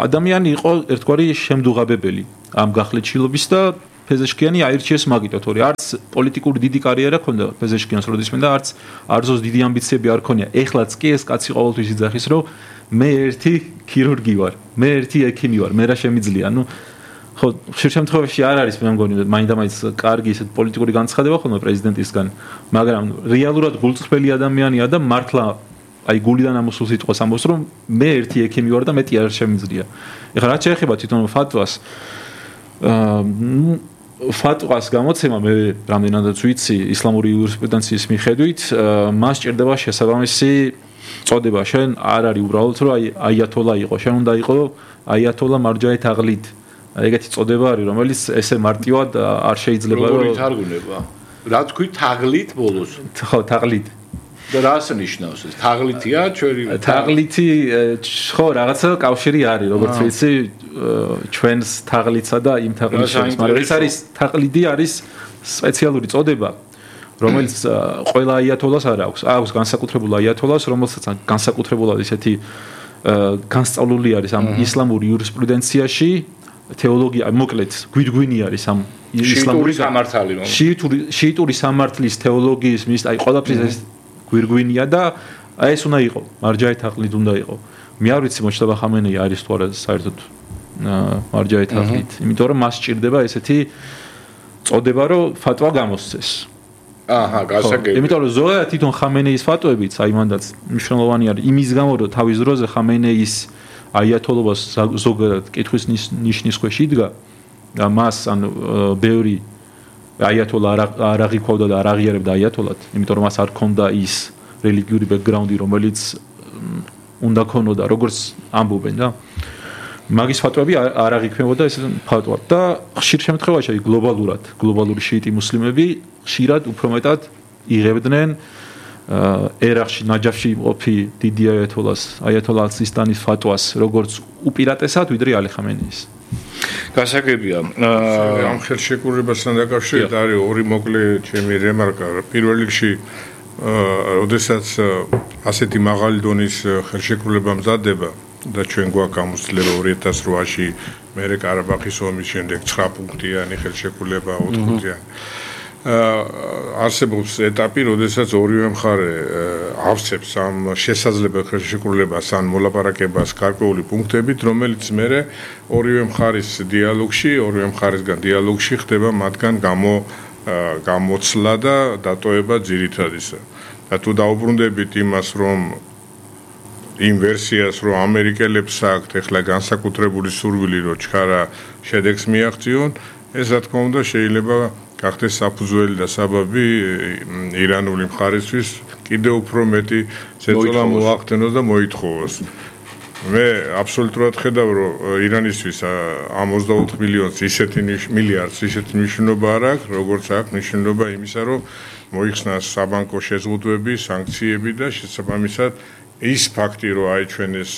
ადამიანი იყო ერთგვარი შემდუღაბებელი ამ გახლეჩილობის და პეზეშკიანი აირჩიეს მაგითო თორე არც პოლიტიკური დიდი კარიერა ჰქონდა პეზეშკიანს როდის მინდა არც დიდი ამბიციები არ ქონია ეხლაც კი ეს კაცი ყოველთვის იძახის რომ მე ერთი ქირურგი ვარ მე ერთი ექიმი ვარ მე რა შემიძლია ხო ხშირ შემთხვევაში არ არის მე მგონი მაინდა-მაინც კარგი ისეთ პოლიტიკური განცხადება ხოლმე პრეზიდენტისგან მაგრამ რეალურად გულწრფელი ადამიანია და მართლა გულიდან ამოსულ სიტყვას ამბობს რომ მე ერთი ექიმი ვარ და მეტი არ შემიძლია ეხლა რაც შეეხება თვითონ ფატვას გამოცემა მე რამდენადაც ვიცი ისლამური იურისპრუდენციის მიხედვით მას ჭირდება შესაბამისი წოდება შენ არ არის უბრალოდ რომ აიათოლა იყო შენ უნდა იყო აიათოლა მარჯაი თაღლით ეგეთი წოდება არის რომელიც ესე მარტივად არ შეიძლება რომ როგორ ითარგმნება რა თქვი თაღლით ბოლოს ხო თაღლით და რას ნიშნავს ეს? თაღლითია ჩვენი? თაღლითი ხო, რაღაცა კავშირი არის, როგორც ვიცი, ჩვენს თაღლითსა და იმ თაღლითს შორის, მაგრამ ეს არის თაღლითი არის სპეციალური წოდება, რომელიც ყველა აიათოლას არ აქვს. აქვს განსაკუთრებულ აიათოლას, რომელსაც განსაკუთრებულად ისეთი განსწავლული არის ამ ისლამური იურისპრუდენციაში, თეოლოგია, მოკლედ, გვირგვინი არის ამ ისლამური სამართალი, შიიტური სამართლის თეოლოგიის მის, აი ყველაფრის ეს გვირგვინია და აი ეს უნდა იყო, მარჯაი თაღლით უნდა იყო. მე არ ვიცი მოშტაბა ხამენეი არის თუ არა საერთოდ მარჯაი თაღლით, იმიტომ რომ მას სჭირდება ესეთი წოდება, რომ ფატვა გამოსცეს. აჰა, გასაგებია. იმიტომ რომ ზოგადად თვითონ ხამენეის ფატვებიც, აი მანდაც მნიშვნელოვანი არის იმის გამო, რომ თავის დროზე ხამენეის აიათოლობას ზოგადად კითხვის ნიშნის ქვეშ იდგა და მას ან ბევრი აიათოლა არ აღიქვავდა და არ აღიარებდა აიათოლად, იმიტომ რომ მას არ ჰქონდა ის რელიგიური ბექგრაუნდი, რომელიც უნდა ქონოდა, როგორც ამბობენ და მაგის ფატვები არ აღიქმებოდა ეს ფატვა და ხშირ შემთხვევაში გლობალური შიიტი მუსლიმები ხშირად უფრო მეტად იღებდნენ ერაყში ნაჯაფში ყოფი დიდი აიათოლა ალ-სისტანის ფატვას როგორც უპირატესად ვიდრე ალი ხამენეის. გასაგებია. ამ ხელშეკრულებასთან დაკავშირებით არის ორი მოკლე ჩემი რემარკა. პირველ რიგში, როდესაც ასეთი მაღალი დონის ხელშეკრულება მზადდება და ჩვენ გვაქვს გამოცდილება 2008-ში მერე ყარაბაღის ომის შემდეგ 9 პუნქტიანი ხელშეკრულება 4 პუნქტიანი. არსებობს ეტაპი, როდესაც ორივე მხარე ავსებს ამ შესაძლებელი ხელშეკრულებას ან მოლაპარაკებას გარკვეული პუნქტებით, რომელიც მერე ორივე მხარის დიალოგში ხდება მათგან გამოცლა და დატოვება ძირითადისა. და თუ დაუბრუნდებით იმას, რომ იმ ვერსიას, რომ ამერიკელებს აქვთ ახლა განსაკუთრებული სურვილი, რომ ჩქარა შედეგს მიაღწიონ, ეს რა თქმა უნდა შეიძლება გახდეს საფუძველი და საბაბი ირანული მხარისთვის კიდევ უფრო მეტი ზეწოლა მოახდენოს და მოითხოვოს. მე აბსოლუტურად ხედავ, რომ ირანისთვის ამ 24 მილიონს მილიარდს ისეთი მნიშვნელობა არ აქვს, როგორც აქვს მნიშვნელობა იმისა, რომ მოიხსნას საბანკო შეზღუდვები, სანქციები და შესაბამისად ის ფაქტი, რომ აი ჩვენ ეს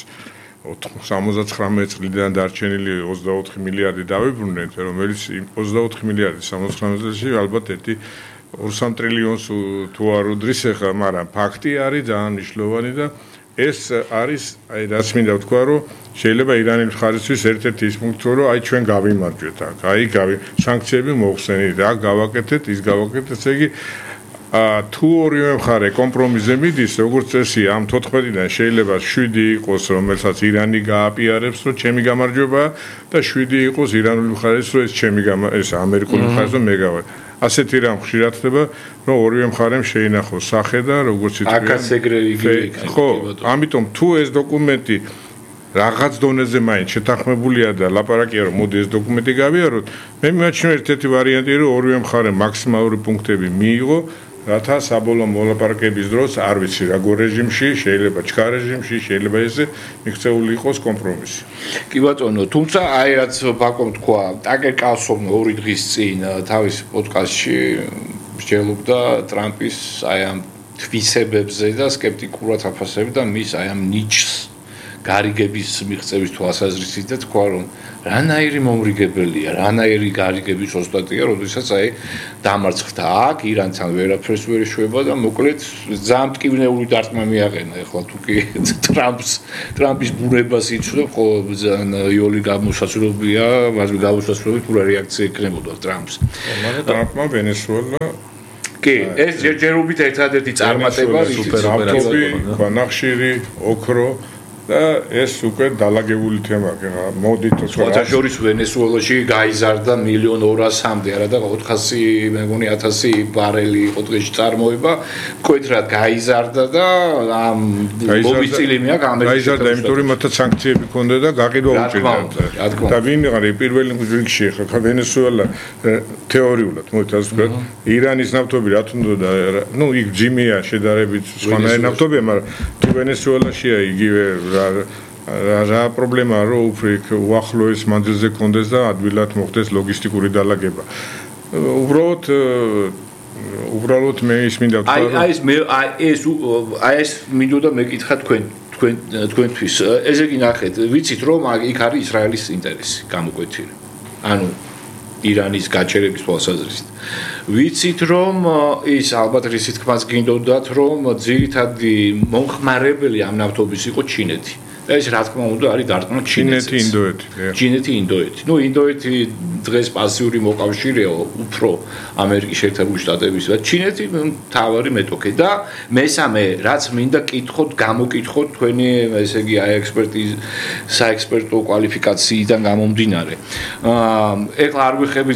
79 წლიდან დარჩენილი 24 მილიარდი დავიბრუნეთ, რომელიც 24 მილიარდი 79 წელში ალბათ 2-3 ტრილიონს თუ არ უდრის ახლა, მაგრამ ფაქტი არის ძალიან მნიშვნელოვანი და ეს არის, აი რაც მინდა ვთქვა, რომ შეიძლება ირანის მხარისთვის ერთ-ერთი ის პუნქტი, რომ აი ჩვენ გავიმარჯვეთ აქ, აი სანქციები მოხსენით, აქ გავაკეთეთ, ის გავაკეთეთ, ესე იგი თუ ორივე მხარე კომპრომისზე მიდის, როგორც წესი, ამ 14-დან შეიძლება 7 იყოს, რომელსაც ირანი გააპიარებს, რომ ჩემი გამარჯვებაა და 7 იყოს ირანული მხარის, რომ ეს ამერიკული მხარის, რომ მე გავარ. ასეთი რამ ხშირად ხდება, რომ ორივე მხარემ შეინახოს სახე და როგორც ითქვია, აკაც ეგრე იგი ხო, ამიტომ თუ ეს დოკუმენტი რაღაც დონეზე მაინც შეთანხმებულია და ლაპარაკია, რომ მოდი ეს დოკუმენტი გავიაროთ, მე მიმაჩნია ერთ-ერთი ვარიანტი, რომ ორივე მხარემ მაქსიმალური პუნქტები მიიღო, რათა საბოლოო მოლაპარაკების დროს არ ვიცი როგორ რეჟიმში, შეიძლება ჩქარ რეჟიმში, შეიძლება ესე მიღწეული იყოს კომპრომისი. კი ბატონო, თუმცა აი რაც ბაკომ თქვა, ტაკერ კალსონი 2 დღის წინ თავის პოდკასტში მსჯელობდა ტრამპის აი ამ თვისებებზე და სკეპტიკურად აფასებდა მის აი ამ ნიჩს გარიგების მიღწევის თვალსაზრისით და თქვა, რომ რანაირი მომრიგებელია, რანაირი გარიგების ოსტატია, როდესაც აი დამარცხდა აქ, ირანთან ვერაფერს ვერ ეშვება და მოკლედ ძალიან მტკივნეული დარტყმა მიაყენა. ეხლა თუ კი ტრამპის ბუნებას იცნო, ხო ძალიან იოლი გამოსასწორებია, მასზე გამოსასწორებით უბრალოდ რეაქცია ექნებოდა ტრამპს. მაგრამ ტრამპმა ვენესუელა კი, ეს ჯერჯერობით ერთადერთი წარმატება სუპეროპერაცია, ბანახშირი, ოქრო და ეს უკვე დალაგებული თემაა. მოდით სხვა შორის ვენესუელაში გაიზარდა 1.200.000-მდე, არა და 400 მე მგონი 1000 ბარელი იყო დღეში წარმოება, მკვეთრად გაიზარდა და ამ მოვიწილი მეაქ ამერიკაში გაიზარდა, იმიტომ რომ მათაც სანქციები ჰქონდა და გაყიდვა უჭირდებათ. და ვინ არის პირველი რიგში ხა ვენესუელა თეორიულად, მოდით ასე ვთქვათ, ირანის ნავთობი რა თუნდოდა, ნუ იქ ჯიმია შედარებით სხვანაირი ნავთობია, მაგრამ თუ ვენესუელაშია იგივე რა პრობლემაა, რომ უფრო უახლოეს მანძილზე კონდეს და ადვილად მოხდეს ლოგისტიკური დალაგება. უბრალოდ უბრალოდ მე ის მინდა ვთქვა ეს მინდოდა მეკითხა თქვენთვის ესე იგი ნახეთ ვიცით რომ იქ არის ისრაელის ინტერესი გამოკვეთილი ანუ ირანის გაჩერების თვალსაზრისით ვიცით რომ ის ალბათ რისით თქმაც გინდოდათ რომ ძირითადი მომხმარებელი ამ ნავთობის იყო ჩინეთი ეს რა თქმა უნდა არის დარტყმა ჩინეთი ინდოეთი ნუ ინდოეთი დღეს პასიური მოკავშირეა უფრო ამერიკის შეერთებული შტატების და ჩინეთი თავარი მეტოქე და მესამე რაც მინდა კითხოთ გამოკითხოთ თქვენი ესე იგი საექსპერტო კვალიფიკაციიდან გამომდინარე ეხლა არ ვიხები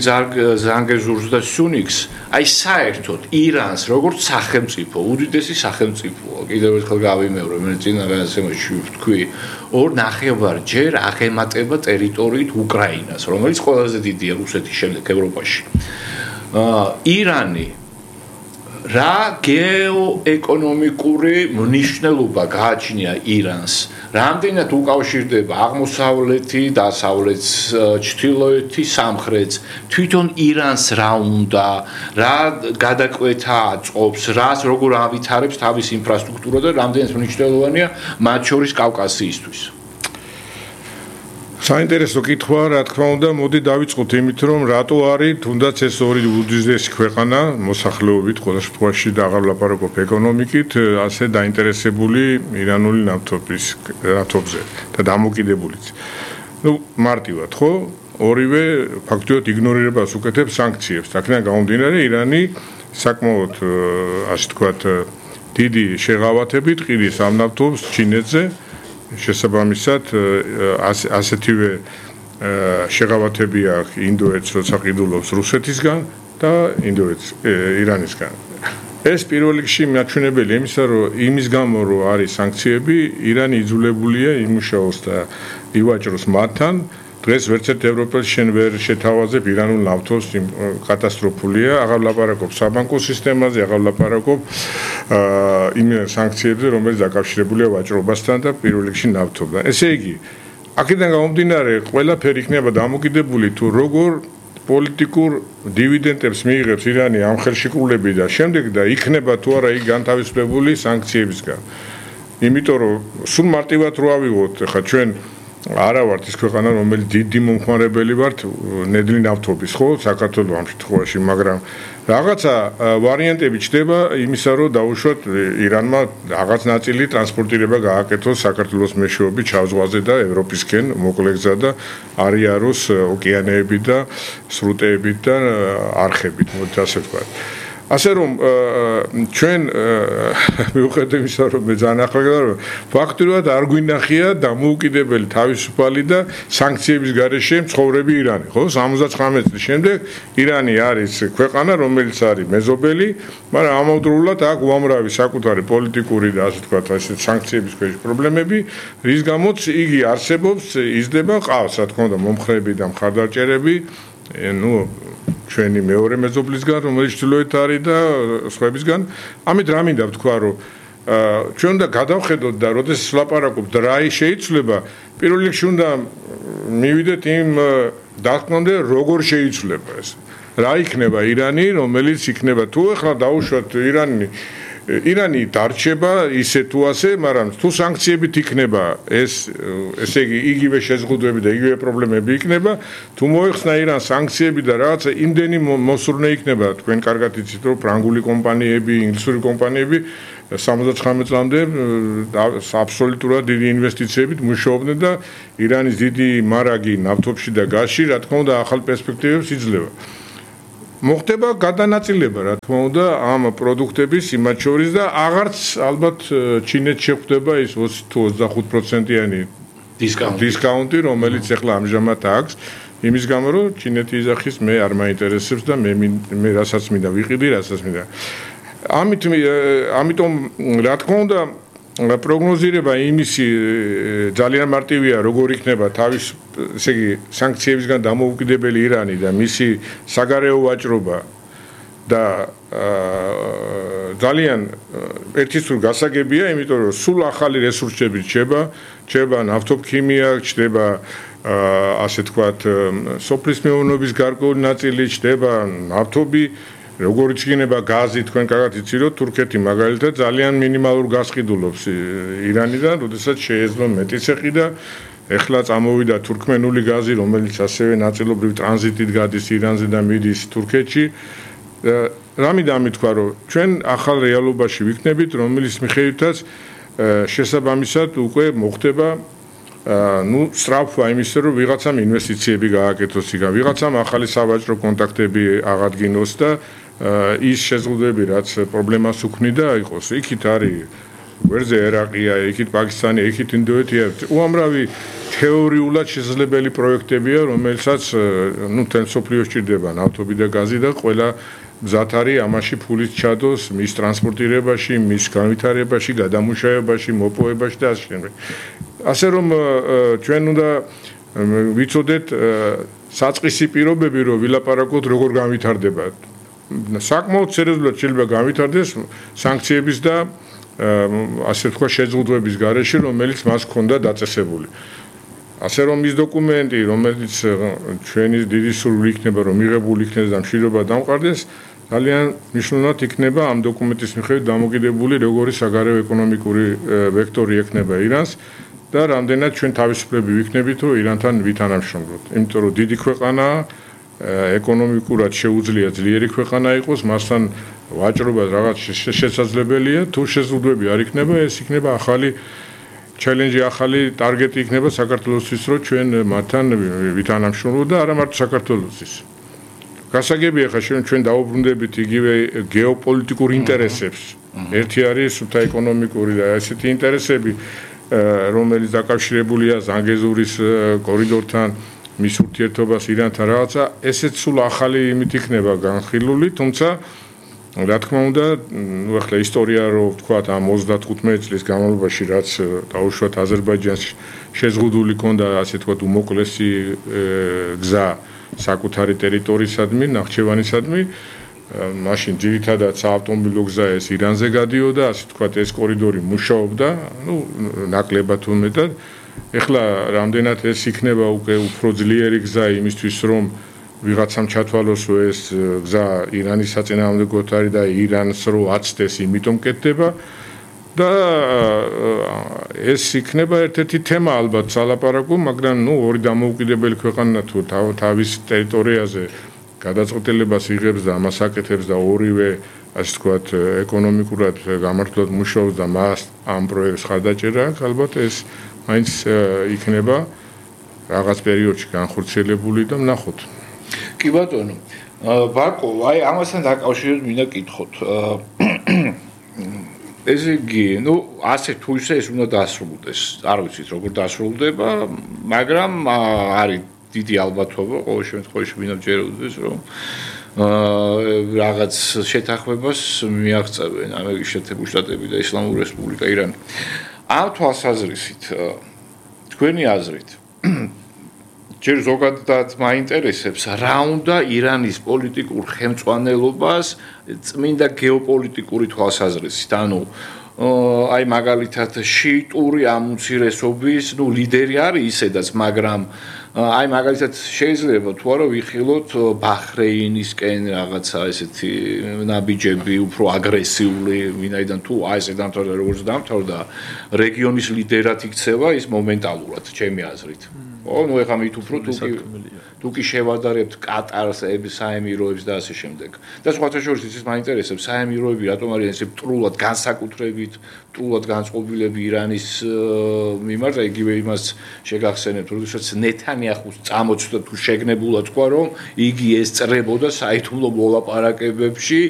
ზანგეზურს და სუნიქს აი საერთოდ ირანს როგორც სახელმწიფო უდიდესი სახელმწიფოა კიდევ ერთხელ გავიმეორე მე წინა განსემაში ვთქვი 2.5-ჯერ აღემატება ტერიტორიით უკრაინას, რომელიც ყველაზე დიდია რუსეთის შემდეგ ევროპაში. ირანი რა გეოეკონომიკური მნიშვნელობა გააჩნია ირანს? რამდენად უკავშირდება აღმოსავლეთი, დასავლეთს, ჩრდილოეთი, სამხრეთს? თვითონ ირანს რა უნდა, რა გადაკვეთა აწყობს, რას როგორ ავითარებს თავის ინფრასტრუქტურა და რამდენად მნიშვნელოვანია მათ შორის კავკასიისთვის? საინტერესო კითხვა, რა თქმა უნდა, მოდი დავიწყოთ იმით, რომ რატო არის თუნდაც ეს ორი უდიდესი ქვეყანა მოსახლეობით, ყველა შემთხვევაში და აღარ ვლაპარაკობ ეკონომიკით, ასე დაინტერესებული ირანული ნავთობზე და დამოკიდებულიც. ნუ მარტივად, ხო? ორივე ფაქტობრივად იგნორირებას უკეთებს სანქციებს. აქედან გამომდინარე, ირანი საკმაოდ ასე ვთქვათ, დიდი შეღავათებით ყიდის ამ ნავთობს ჩინეთზე. შესაბამისად ასეთივე შეღავათები აქვს ინდოეთს, როცა ყიდულობს რუსეთისგან და ირანისგან. ეს პირველ რიგში მაჩვენებელი იმისა, რომ იმის გამო რომ არის სანქციები, ირანი იძულებულია იმუშაოს და ივაჭროს მათთან. დღეს ვერცერთ ევროპელს შენ ვერ შეთავაზებ ირანულ ნავთობს, კატასტროფულია. აღარ ვლაპარაკობ საბანკო სისტემაზე, აღარ ვლაპარაკობ იმ სანქციებზე, რომელიც დაკავშირებულია ვაჭრობასთან და პირველ რიგში ნავთობთან. ესე იგი, აქედან გამომდინარე, ყველაფერი იქნება დამოკიდებული თუ როგორ პოლიტიკურ დივიდენდებს მიიღებს ირანი ამ ხელშეკრულები და შემდეგ და იქნება თუ არა იქ განთავისუფლებული სანქციებისგან. იმიტომ რომ სულ მარტივად რო ავიღოთ, ხა ჩვენ არა ვართ ის ქვეყანა, რომელიც დიდი მომხმარებელი ვართ ნედლი ნავთობის, ხო, საქართველოს ამ შემთხვევაში, მაგრამ რაღაცა ვარიანტები ჩდება იმისა, რომ დაუშვათ ირანმა რაღაც ნაწილი ტრანსპორტირება გააკეთოს საქართველოს მეშვეობით ჩავზღვაზე და ევროპისკენ მოკლეგზა და არიაროს ოკეანეებით და სრუტეებით და არხებით, მოდით ასე ვთქვათ. ასე რომ ჩვენ მიუხედავად იმისა, რომ მე ძალიან ახლა რომ ფაქტობრივად არ გვინახია დამოუკიდებელი თავისუფალი და სანქციების გარეშე ცხოვრები ირანი, ხო? 79 წლის შემდეგ ირანი არის ქვეყანა, რომელიც არის მეზობელი, მაგრამ ამავდროულად აქვს უამრავი საკუთარი პოლიტიკური და ასე ვთქვათ, ასე სანქციების ქვეშ პრობლემები, რის გამოც იგი არსებობს, იზრდება, ყავს, რა თქმა უნდა, მომხრეები და მხარდაჭერები, ნუ ჩვენი მეორე მეზობლისგან, რომელიც ჩრდილოეთ არის და სხვებისგან. ამით რა მინდა ვთქვა, რომ ჩვენ უნდა გადავხედოთ და როდესაც ვლაპარაკობთ რა შეიცვლება, პირველ რიგში უნდა მივიდეთ იმ დათქმამდე, როგორ შეიცვლება ეს. რა იქნება ირანი, რომელიც იქნება თუ ახლა დაუშვათ ირანი დარჩება ისე თუ ასე, მაგრამ თუ სანქციებით იქნება ესე იგი იგივე შეზღუდვები და იგივე პრობლემები იქნება, თუ მოეხსნა ირანს სანქციები და რაღაცა იმდენი მოსურნე იქნება, თქვენ კარგად იცით, რომ ფრანგული კომპანიები, ინგლისური კომპანიები 79 წლამდე აბსოლუტურად დიდი ინვესტიციებით მუშაობდნენ და ირანის დიდი მარაგი ნავთობში და გაზში, რა თქმა უნდა, ახალ პერსპექტივებს იძლევა. მოხდება გადანაწილება, რა თქმა უნდა, ამ პროდუქტების იმათ შორის და აღარც ალბათ ჩინეთს შეხვდება ის 20 თუ 25%-იანი დისკაუნტი, რომელიც ახლა ამჟამად აქვს, იმის გამო, რომ ჩინეთი იძახის, მე არ მაინტერესებს და მე რასაც მინდა ვიყიდი, რასაც მინდა. ამიტომ რა თქმა უნდა, პროგნოზირება იმისი ძალიან მარტივია, როგორ იქნება თავის, ესე იგი, სანქციებისგან დამოუკიდებელი ირანი და მისი საგარეო ვაჭრობა და ძალიან ერთისურ გასაგებია, იმიტომ რომ სულ ახალი რესურსები ჩება ნავთობქიმია, ჩდება ასე თქვათ, სოფლის მეურნეობის გარკვეული ნაწილი, ჩდება ნავთობი როგორიც იქნება გაზი თქვენ კარგად იცით რომ თურქეთი მაგალითად ძალიან მინიმალურ გაზს ყიდულობს ირანიდან, როდესაც შეეძლო მეტიც ეყიდა. ეხლა წამოვიდა თურქმენული გაზი, რომელიც ასევე ნაწილობრივ ტრანზიტით გადის ირანზე და მიდის თურქეთში. რამით ამითქვა რომ ჩვენ ახალ რეალობაში ვიქნებით, რომელიც მიხედვითაც შესაბამისად უკვე მოხდება სწრაფვა იმისა, რომ ვიღაცამ ინვესტიციები გააკეთოს იქ, ვიღაცამ ახალი სავაჭრო კონტაქტები აღადგინოს და ის შეზღუდვები, რაც პრობლემას უქმნიდა, იყოს. იქით არის ვერზე ერაყია, იქით პაკისტანი, იქით ინდოეთია. უამრავი თეორიულად შესაძლებელი პროექტებია, რომელსაც თელ სოფლიოს ჭირდება ნავთობი და გაზი და ყველა გზად არის ამაში ფულით ჩადოს მის ტრანსპორტირებაში, მის განვითარებაში, გადამუშავებაში, მოპოვებაში და ასე შემდეგ. ასე რომ ჩვენ უნდა ვიცოდეთ საწყისი პირობები, რომ ვილაპარაკოთ როგორ განვითარდება. საკმაოდ სერიოზულად შეიძლება განვითარდეს სანქციების და ასე თქვა შეზღუდვების გარეშე, რომელიც მას ჰქონდა დაწესებული. ასე რომ ის დოკუმენტი, რომელიც ჩვენი დიდი სურვილი იქნება, რომ მიღებული იქნეს და მშვიდობა დამყარდეს, ძალიან მნიშვნელოვნად იქნება ამ დოკუმენტის მიხედვით დამოკიდებული, როგორი საგარეო ეკონომიკური ვექტორი ექნება ირანს და რამდენად ჩვენ თავისუფლები ვიქნებით, რომ ირანთან ვითანამშრომლოთ. იმიტომ რომ დიდი ქვეყანაა, ეკონომიკურად შეუძლია ძლიერი ქვეყანა იყოს, მასთან ვაჭრობა რაღაც შესაძლებელია, თუ შეზღუდვები არ იქნება, ეს იქნება ახალი ჩელენჯი, ახალი ტარგეტი იქნება საქართველოსთვის, რომ ჩვენ მათთან ვითანამშრომლოთ და არა მარტო საქართველოსთვის. გასაგებია ხა ჩვენ დაუბრუნდებით იგივე გეოპოლიტიკურ ინტერესებს. ერთი არის სუთა ეკონომიკური და ესეთი ინტერესები, რომელიც დაკავშირებულია ზანგეზურის კორიდორთან, მის ურთიერთობას ირანთან რაღაცა, ესეც სულ ახალი იმით იქნება განხილული, თუმცა რა თქმა უნდა, ახლა ისტორია რო ვთქვათ ამ 35 წლის განმავლობაში, რაც დაუშვათ აზერბაიჯანს შეზღუდული ქონდა, ასე ვთქვათ, უმოკლესი გზა საკუთარი ტერიტორიისადმი, ნახჩევანისადმი, მაშინ ძირითადად საავტომობილო გზა ეს ირანზე გადიოდა, ასე ვთქვათ, ეს კორიდორი მუშაობდა, ნაკლებად თუ მეტად. ეხლა რამდენად ეს იქნება უკვე უფრო ძლიერი გზა იმისთვის, რომ ვიღაცამ ჩათვალოს, რომ ეს გზა ირანის საწინააღმდეგოდ არის და ირანს რო აცდეს, იმიტომ კეთდება და ეს იქნება ერთ-ერთი თემა ალბათ სალაპარაკო, მაგრამ ორი დამოუკიდებელი ქვეყანა თუ თავის ტერიტორიაზე გადაწყვეტილებას იღებს და ამას აკეთებს და ორივე, ასე ვთქვათ, ეკონომიკურად გამართლად მუშაობს და მას ამ პროექტს ხარდაჭერა აქვს, ალბათ ეს მაინც იქნება რაღაც პერიოდში განხორციელებული და ვნახოთ. კი ბატონო, ბაკო, აი ამასთან დაკავშირებით მინდა კითხოთ. ესე იგი, ასე თუ ისე ეს უნდა დასრულდეს. არ ვიცით როგორ დასრულდება, მაგრამ არის დიდი ალბათობა, ყოველ შემთხვევაში მინდა ვჯეროდეს, რომ რაღაც შეთანხმებას მიაღწევენ ამერიკის შეერთებული შტატები და ისლამური რესპუბლიკა ირანი. ამ თვალსაზრისით, თქვენი აზრით, ჯერ ზოგადად მაინტერესებს, რა უნდა ირანის პოლიტიკურ ხელმძღვანელობას წმინდა გეოპოლიტიკური თვალსაზრისით, ანუ აი მაგალითად შიიტური ამცირესობის, ლიდერი არის ისედაც, მაგრამ აი მაგალითად შეიძლება თუ არა ვიხილოთ ბაჰრეინისკენ რაღაცა ესეთი ნაბიჯები უფრო აგრესიული, ვინაიდან თუ აი ესე დამთავრდა როგორც დამთავრდა, რეგიონის ლიდერად იქცევა ის მომენტალურად, ჩემი აზრით. ეხლა მით უფრო თუ კი შევადარებთ კატარს, საემიროებს და ასე შემდეგ. და სხვათა შორის ის მაინტერესებს, საემიროები რატომ არის ესე მტრულად განსაკუთრებით, მტრულად განწყობილები ირანის მიმართ, იგივე იმას შეგახსენებთ, როდესაც ნეთანიაჰუს წამოწდა თუ შეგნებულად თქვა, რომ იგი ესწრებოდა საიდუმლო მოლაპარაკებებში,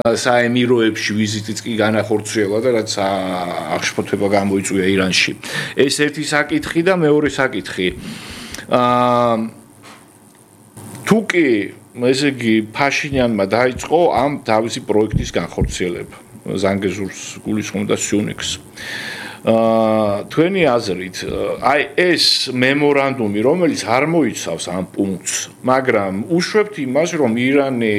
საემიროებში ვიზიტიც კი განახორციელა და რაც აღშფოთება გამოიწვია ირანში. ეს ერთი საკითხი და მეორე საკითხი. თუკი ესე იგი ფაშინიანმა დაიწყო ამ თავისი პროექტის განხორციელება, ზანგეზურს გულისხმობდა სიუნიქს. თქვენი აზრით აი ეს მემორანდუმი რომელიც არ მოიცავს ამ პუნქტს მაგრამ უშვებთ იმას რომ ირანი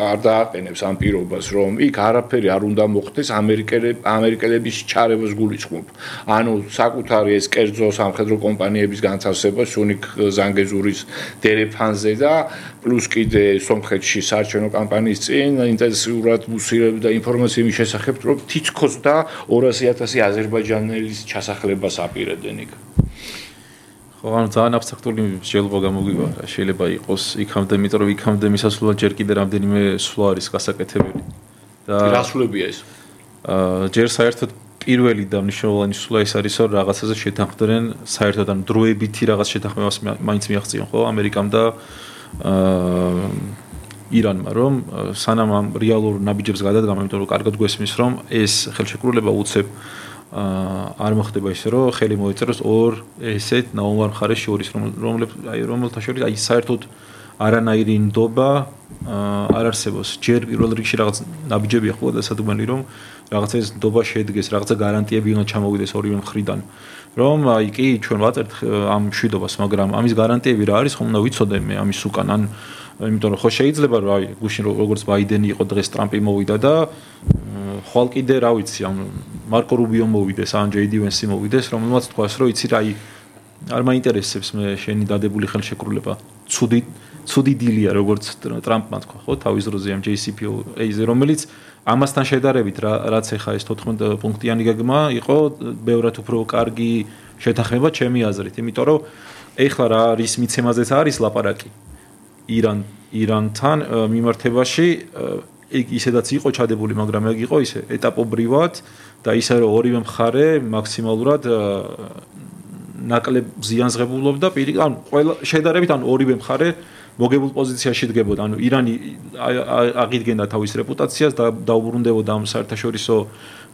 არ დააყენებს ამ პირობას რომ იქ არაფერი არ უნდა მოხდეს ამერიკელების ჩარევას გულისხმობ ანუ საკუთარი ეს კერძო სამხედრო კომპანიების განთავსება სუნიქ ზანგეზურის დერეფანზე და პლუს კიდე სომხეთში საარჩევნო კამპანიის წინ ინტენსიურად უსირებდა ინფორმაციების შესახებ რომ თითქოს და 200,000 აზერბაიჯანელის ჩასახლებას აპირებდნენ იქ. ხო, ანუ ძალიან აბსტრაქტული შეიძლება გამოგვივა, შეიძლება იყოს იქამდე, იმიტომ რომ იქამდე მისასვლელად ჯერ კიდე რამდენიმე სვლა არის გასაკეთებელი. და რა სვლებია ეს? ჯერ საერთოდ პირველი და მნიშვნელოვანი სვლა ეს არის, რომ რაღაცაზე შეთანხმდნენ საერთოდ ან დროებითი რაღაც შეთანხმებას მაინც მიაღწიონ, ხო, ამერიკამ და ირანმა, რომ სანამ ამ რეალურ ნაბიჯებს გადადგამენ, იმიტომ რომ კარგად გვესმის, რომ ეს ხელშეკრულება უცებ არ მოხდება ისე, რომ ხელი მოეწეროს ორ ესეთ ნაუმარ მხარეს შორის, რომელთა შორის აი საერთოდ არანაირი ნდობა არ არსებობს. ჯერ პირველ რიგში რაღაც ნაბიჯები ახლა და სადუმელი, რომ რაღაცა ეს ნდობა შედგეს, რაღაცა გარანტიები უნდა ჩამოვიდეს ორივე მხრიდან. რომ აი კი ჩვენ ვაწერთ ამ მშვიდობას, მაგრამ ამის გარანტიები რა არის, ხომ უნდა ვიცოდე მე ამის უკან ან იმიტომ რომ ხო შეიძლება რომ აი გუშინ როგორც ბაიდენი იყო დღეს ტრამპი მოვიდა და ხვალ კიდე რა ვიცი ამ მარკო რუბიო მოვიდეს ან ჯეი დი ვენსი მოვიდეს რომელმაც თქვას რომ იცი რა აი არ მაინტერესებს მე შენი დადებული ხელშეკრულება ცუდი დილია როგორც ტრამპმა თქვა ხო თავის დროზე ამ JCPOA-ზე რომელიც ამასთან შედარებით რაც ეხა ეს 14 პუნქტიანი გეგმა იყო ბევრად უფრო კარგი შეთანხმება ჩემი აზრით იმიტომ რომ ეხლა რა არის მიცემაზეც არის ლაპარაკი ირანთან მიმართებაში ისედაც იყო ჩადებული, მაგრამ ეგ იყო ისე ეტაპობრივად და ისე რომ ორივე მხარე მაქსიმალურად ნაკლებ ზიანს ღებულობდა ანუ ყველა შედარებით ანუ ორივე მხარე მოგებულ პოზიციაში დგებოდა. ანუ ირანი აღიდგენდა თავის რეპუტაციას და დაუბრუნდებოდა ამ საერთაშორისო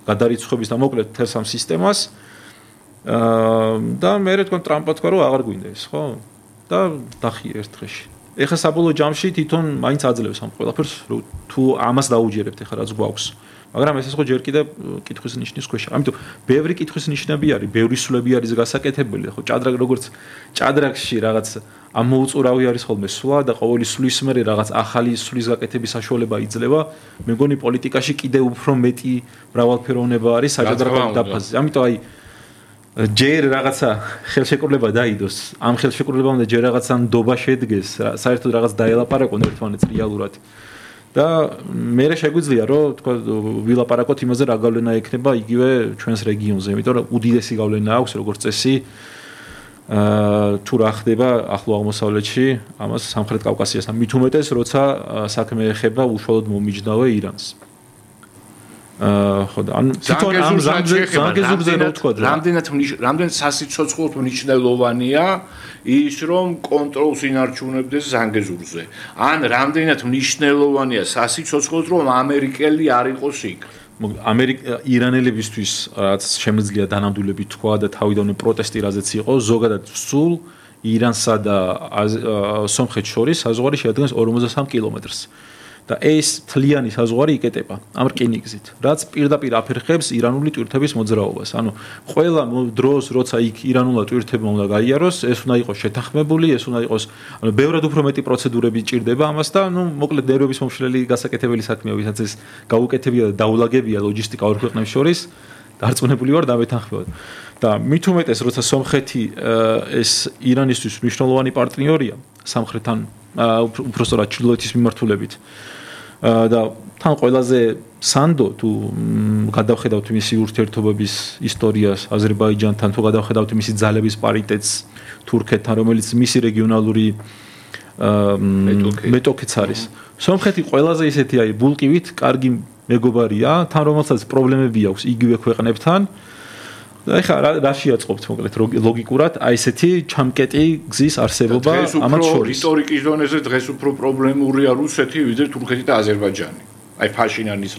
გადარიცხვების და მოკლედ თელს ამ სისტემას და მე თქვენ ტრამპმა თქვა რომ აღარ გვინდა ეს, ხო? და დახია ერთ დღეში. ეხლა საბოლოო ჯამში თვითონ მაინც აძლევს ამ ყველაფერს თუ ამას დაუჯერებთ ეხლა რაც გვაქვს მაგრამ ეს ხო ჯერ კიდე კითხვის ნიშნის ქვეშ ამიტომ ბევრი კითხვის ნიშნები არის ბევრი სვლები არის გასაკეთებელი ხო ჭადრაკ როგორც ჭადრაკში რაღაც ამოუწურავი არის ხოლმე სვლა და ყოველი სვლის მერე რაღაც ახალი სვლის გაკეთების საშუალება იძლევა მე მგონი პოლიტიკაში კიდე უფრო მეტი მრავალფეროვნება არის საჭადრაკო დაფაზზე ამიტომ აი ჯერ რაღაცა ხელშეკრულება დაიდოს ამ ხელშეკრულებამდე ჯერ რაღაცა ნდობა შედგეს საერთოდ რაღაც დაელაპარაკონ ერთმანეთს რეალურად და მე შეგვიძლია რომ თქვა ვილაპარაკოთ იმაზე რა გავლენა ექნება იგივე ჩვენს რეგიონზე იმიტომ რომ უდიდესი გავლენა აქვს როგორც წესი თუ რა ხდება ახლო აღმოსავლეთში ამას სამხრეთ კავკასიასთან მით უმეტეს როცა საქმე ეხება უშუალოდ მომიჯნავე ირანს ხო და ან თვითონ ამ ზანგეზურზე რო თქვა რამდენად სასიცოცხლოდ მნიშვნელოვანია ის რომ კონტროლს ინარჩუნებდეს ზანგეზურზე ან რამდენად მნიშვნელოვანია სასიცოცხლოდ რომ ამერიკელი არ იყოს იქ ირანელებისთვის რაც შემიძლია დანამდვილებით თქვა და თავიდანვე პროტესტი რაზეც იყო ზოგადად სულ ირანსა და სომხეთს შორის საზღვარი შეადგენს 53 კილომეტრს და ეს თლიანი საზღვარი იკეტება ამ რკინიგზით რაც პირდაპირ აფერხებს ირანული ტვირთების მოძრაობას ანუ ყველა დროს როცა იქ ირანულად ტვირთებმა უნდა გაიაროს ეს უნდა იყოს შეთანხმებული ეს უნდა იყოს ანუ ბევრად უფრო მეტი პროცედურები ჭირდება ამას და ნუ მოკლედ ნერვების მომშლელი გასაკეთებელი საქმეა ვისაც ეს გაუკეთებია და დაულაგებია ლოჯისტიკა ორ ქვეყნებს შორის დარწმუნებული ვარ დამეთანხმებოდ და მით უმეტეს როცა სომხეთი ეს ირანისთვის მნიშვნელოვანი პარტნიორია სამხრეთთან უბრალოდ ჩრდილოეთის მიმართულებით და თან ყველაზე სანდო თუ გადავხედავთ მისი ურთიერთობების ისტორიას აზერბაიჯანთან თუ გადავხედავთ მისი ძალების პარიტეტს თურქეთთან რომელიც მისი რეგიონალური მეტოქიც არის სომხეთი ყველაზე ისეთი აი ბულკივით კარგი მეგობარია თან რომელსაც პრობლემები აქვს იგივე ქვეყნებთან და ეხლა რა შეაწყობთ მოკლედ ლოგიკურად აი ესეთი ჩამკეტი გზის არსებობა ამათ შორის ისტორიკის დონეზე დღეს უფრო პრობლემურია რუსეთი ვიდრე თურქეთი და აზერბაიჯანი აი ფაშინანის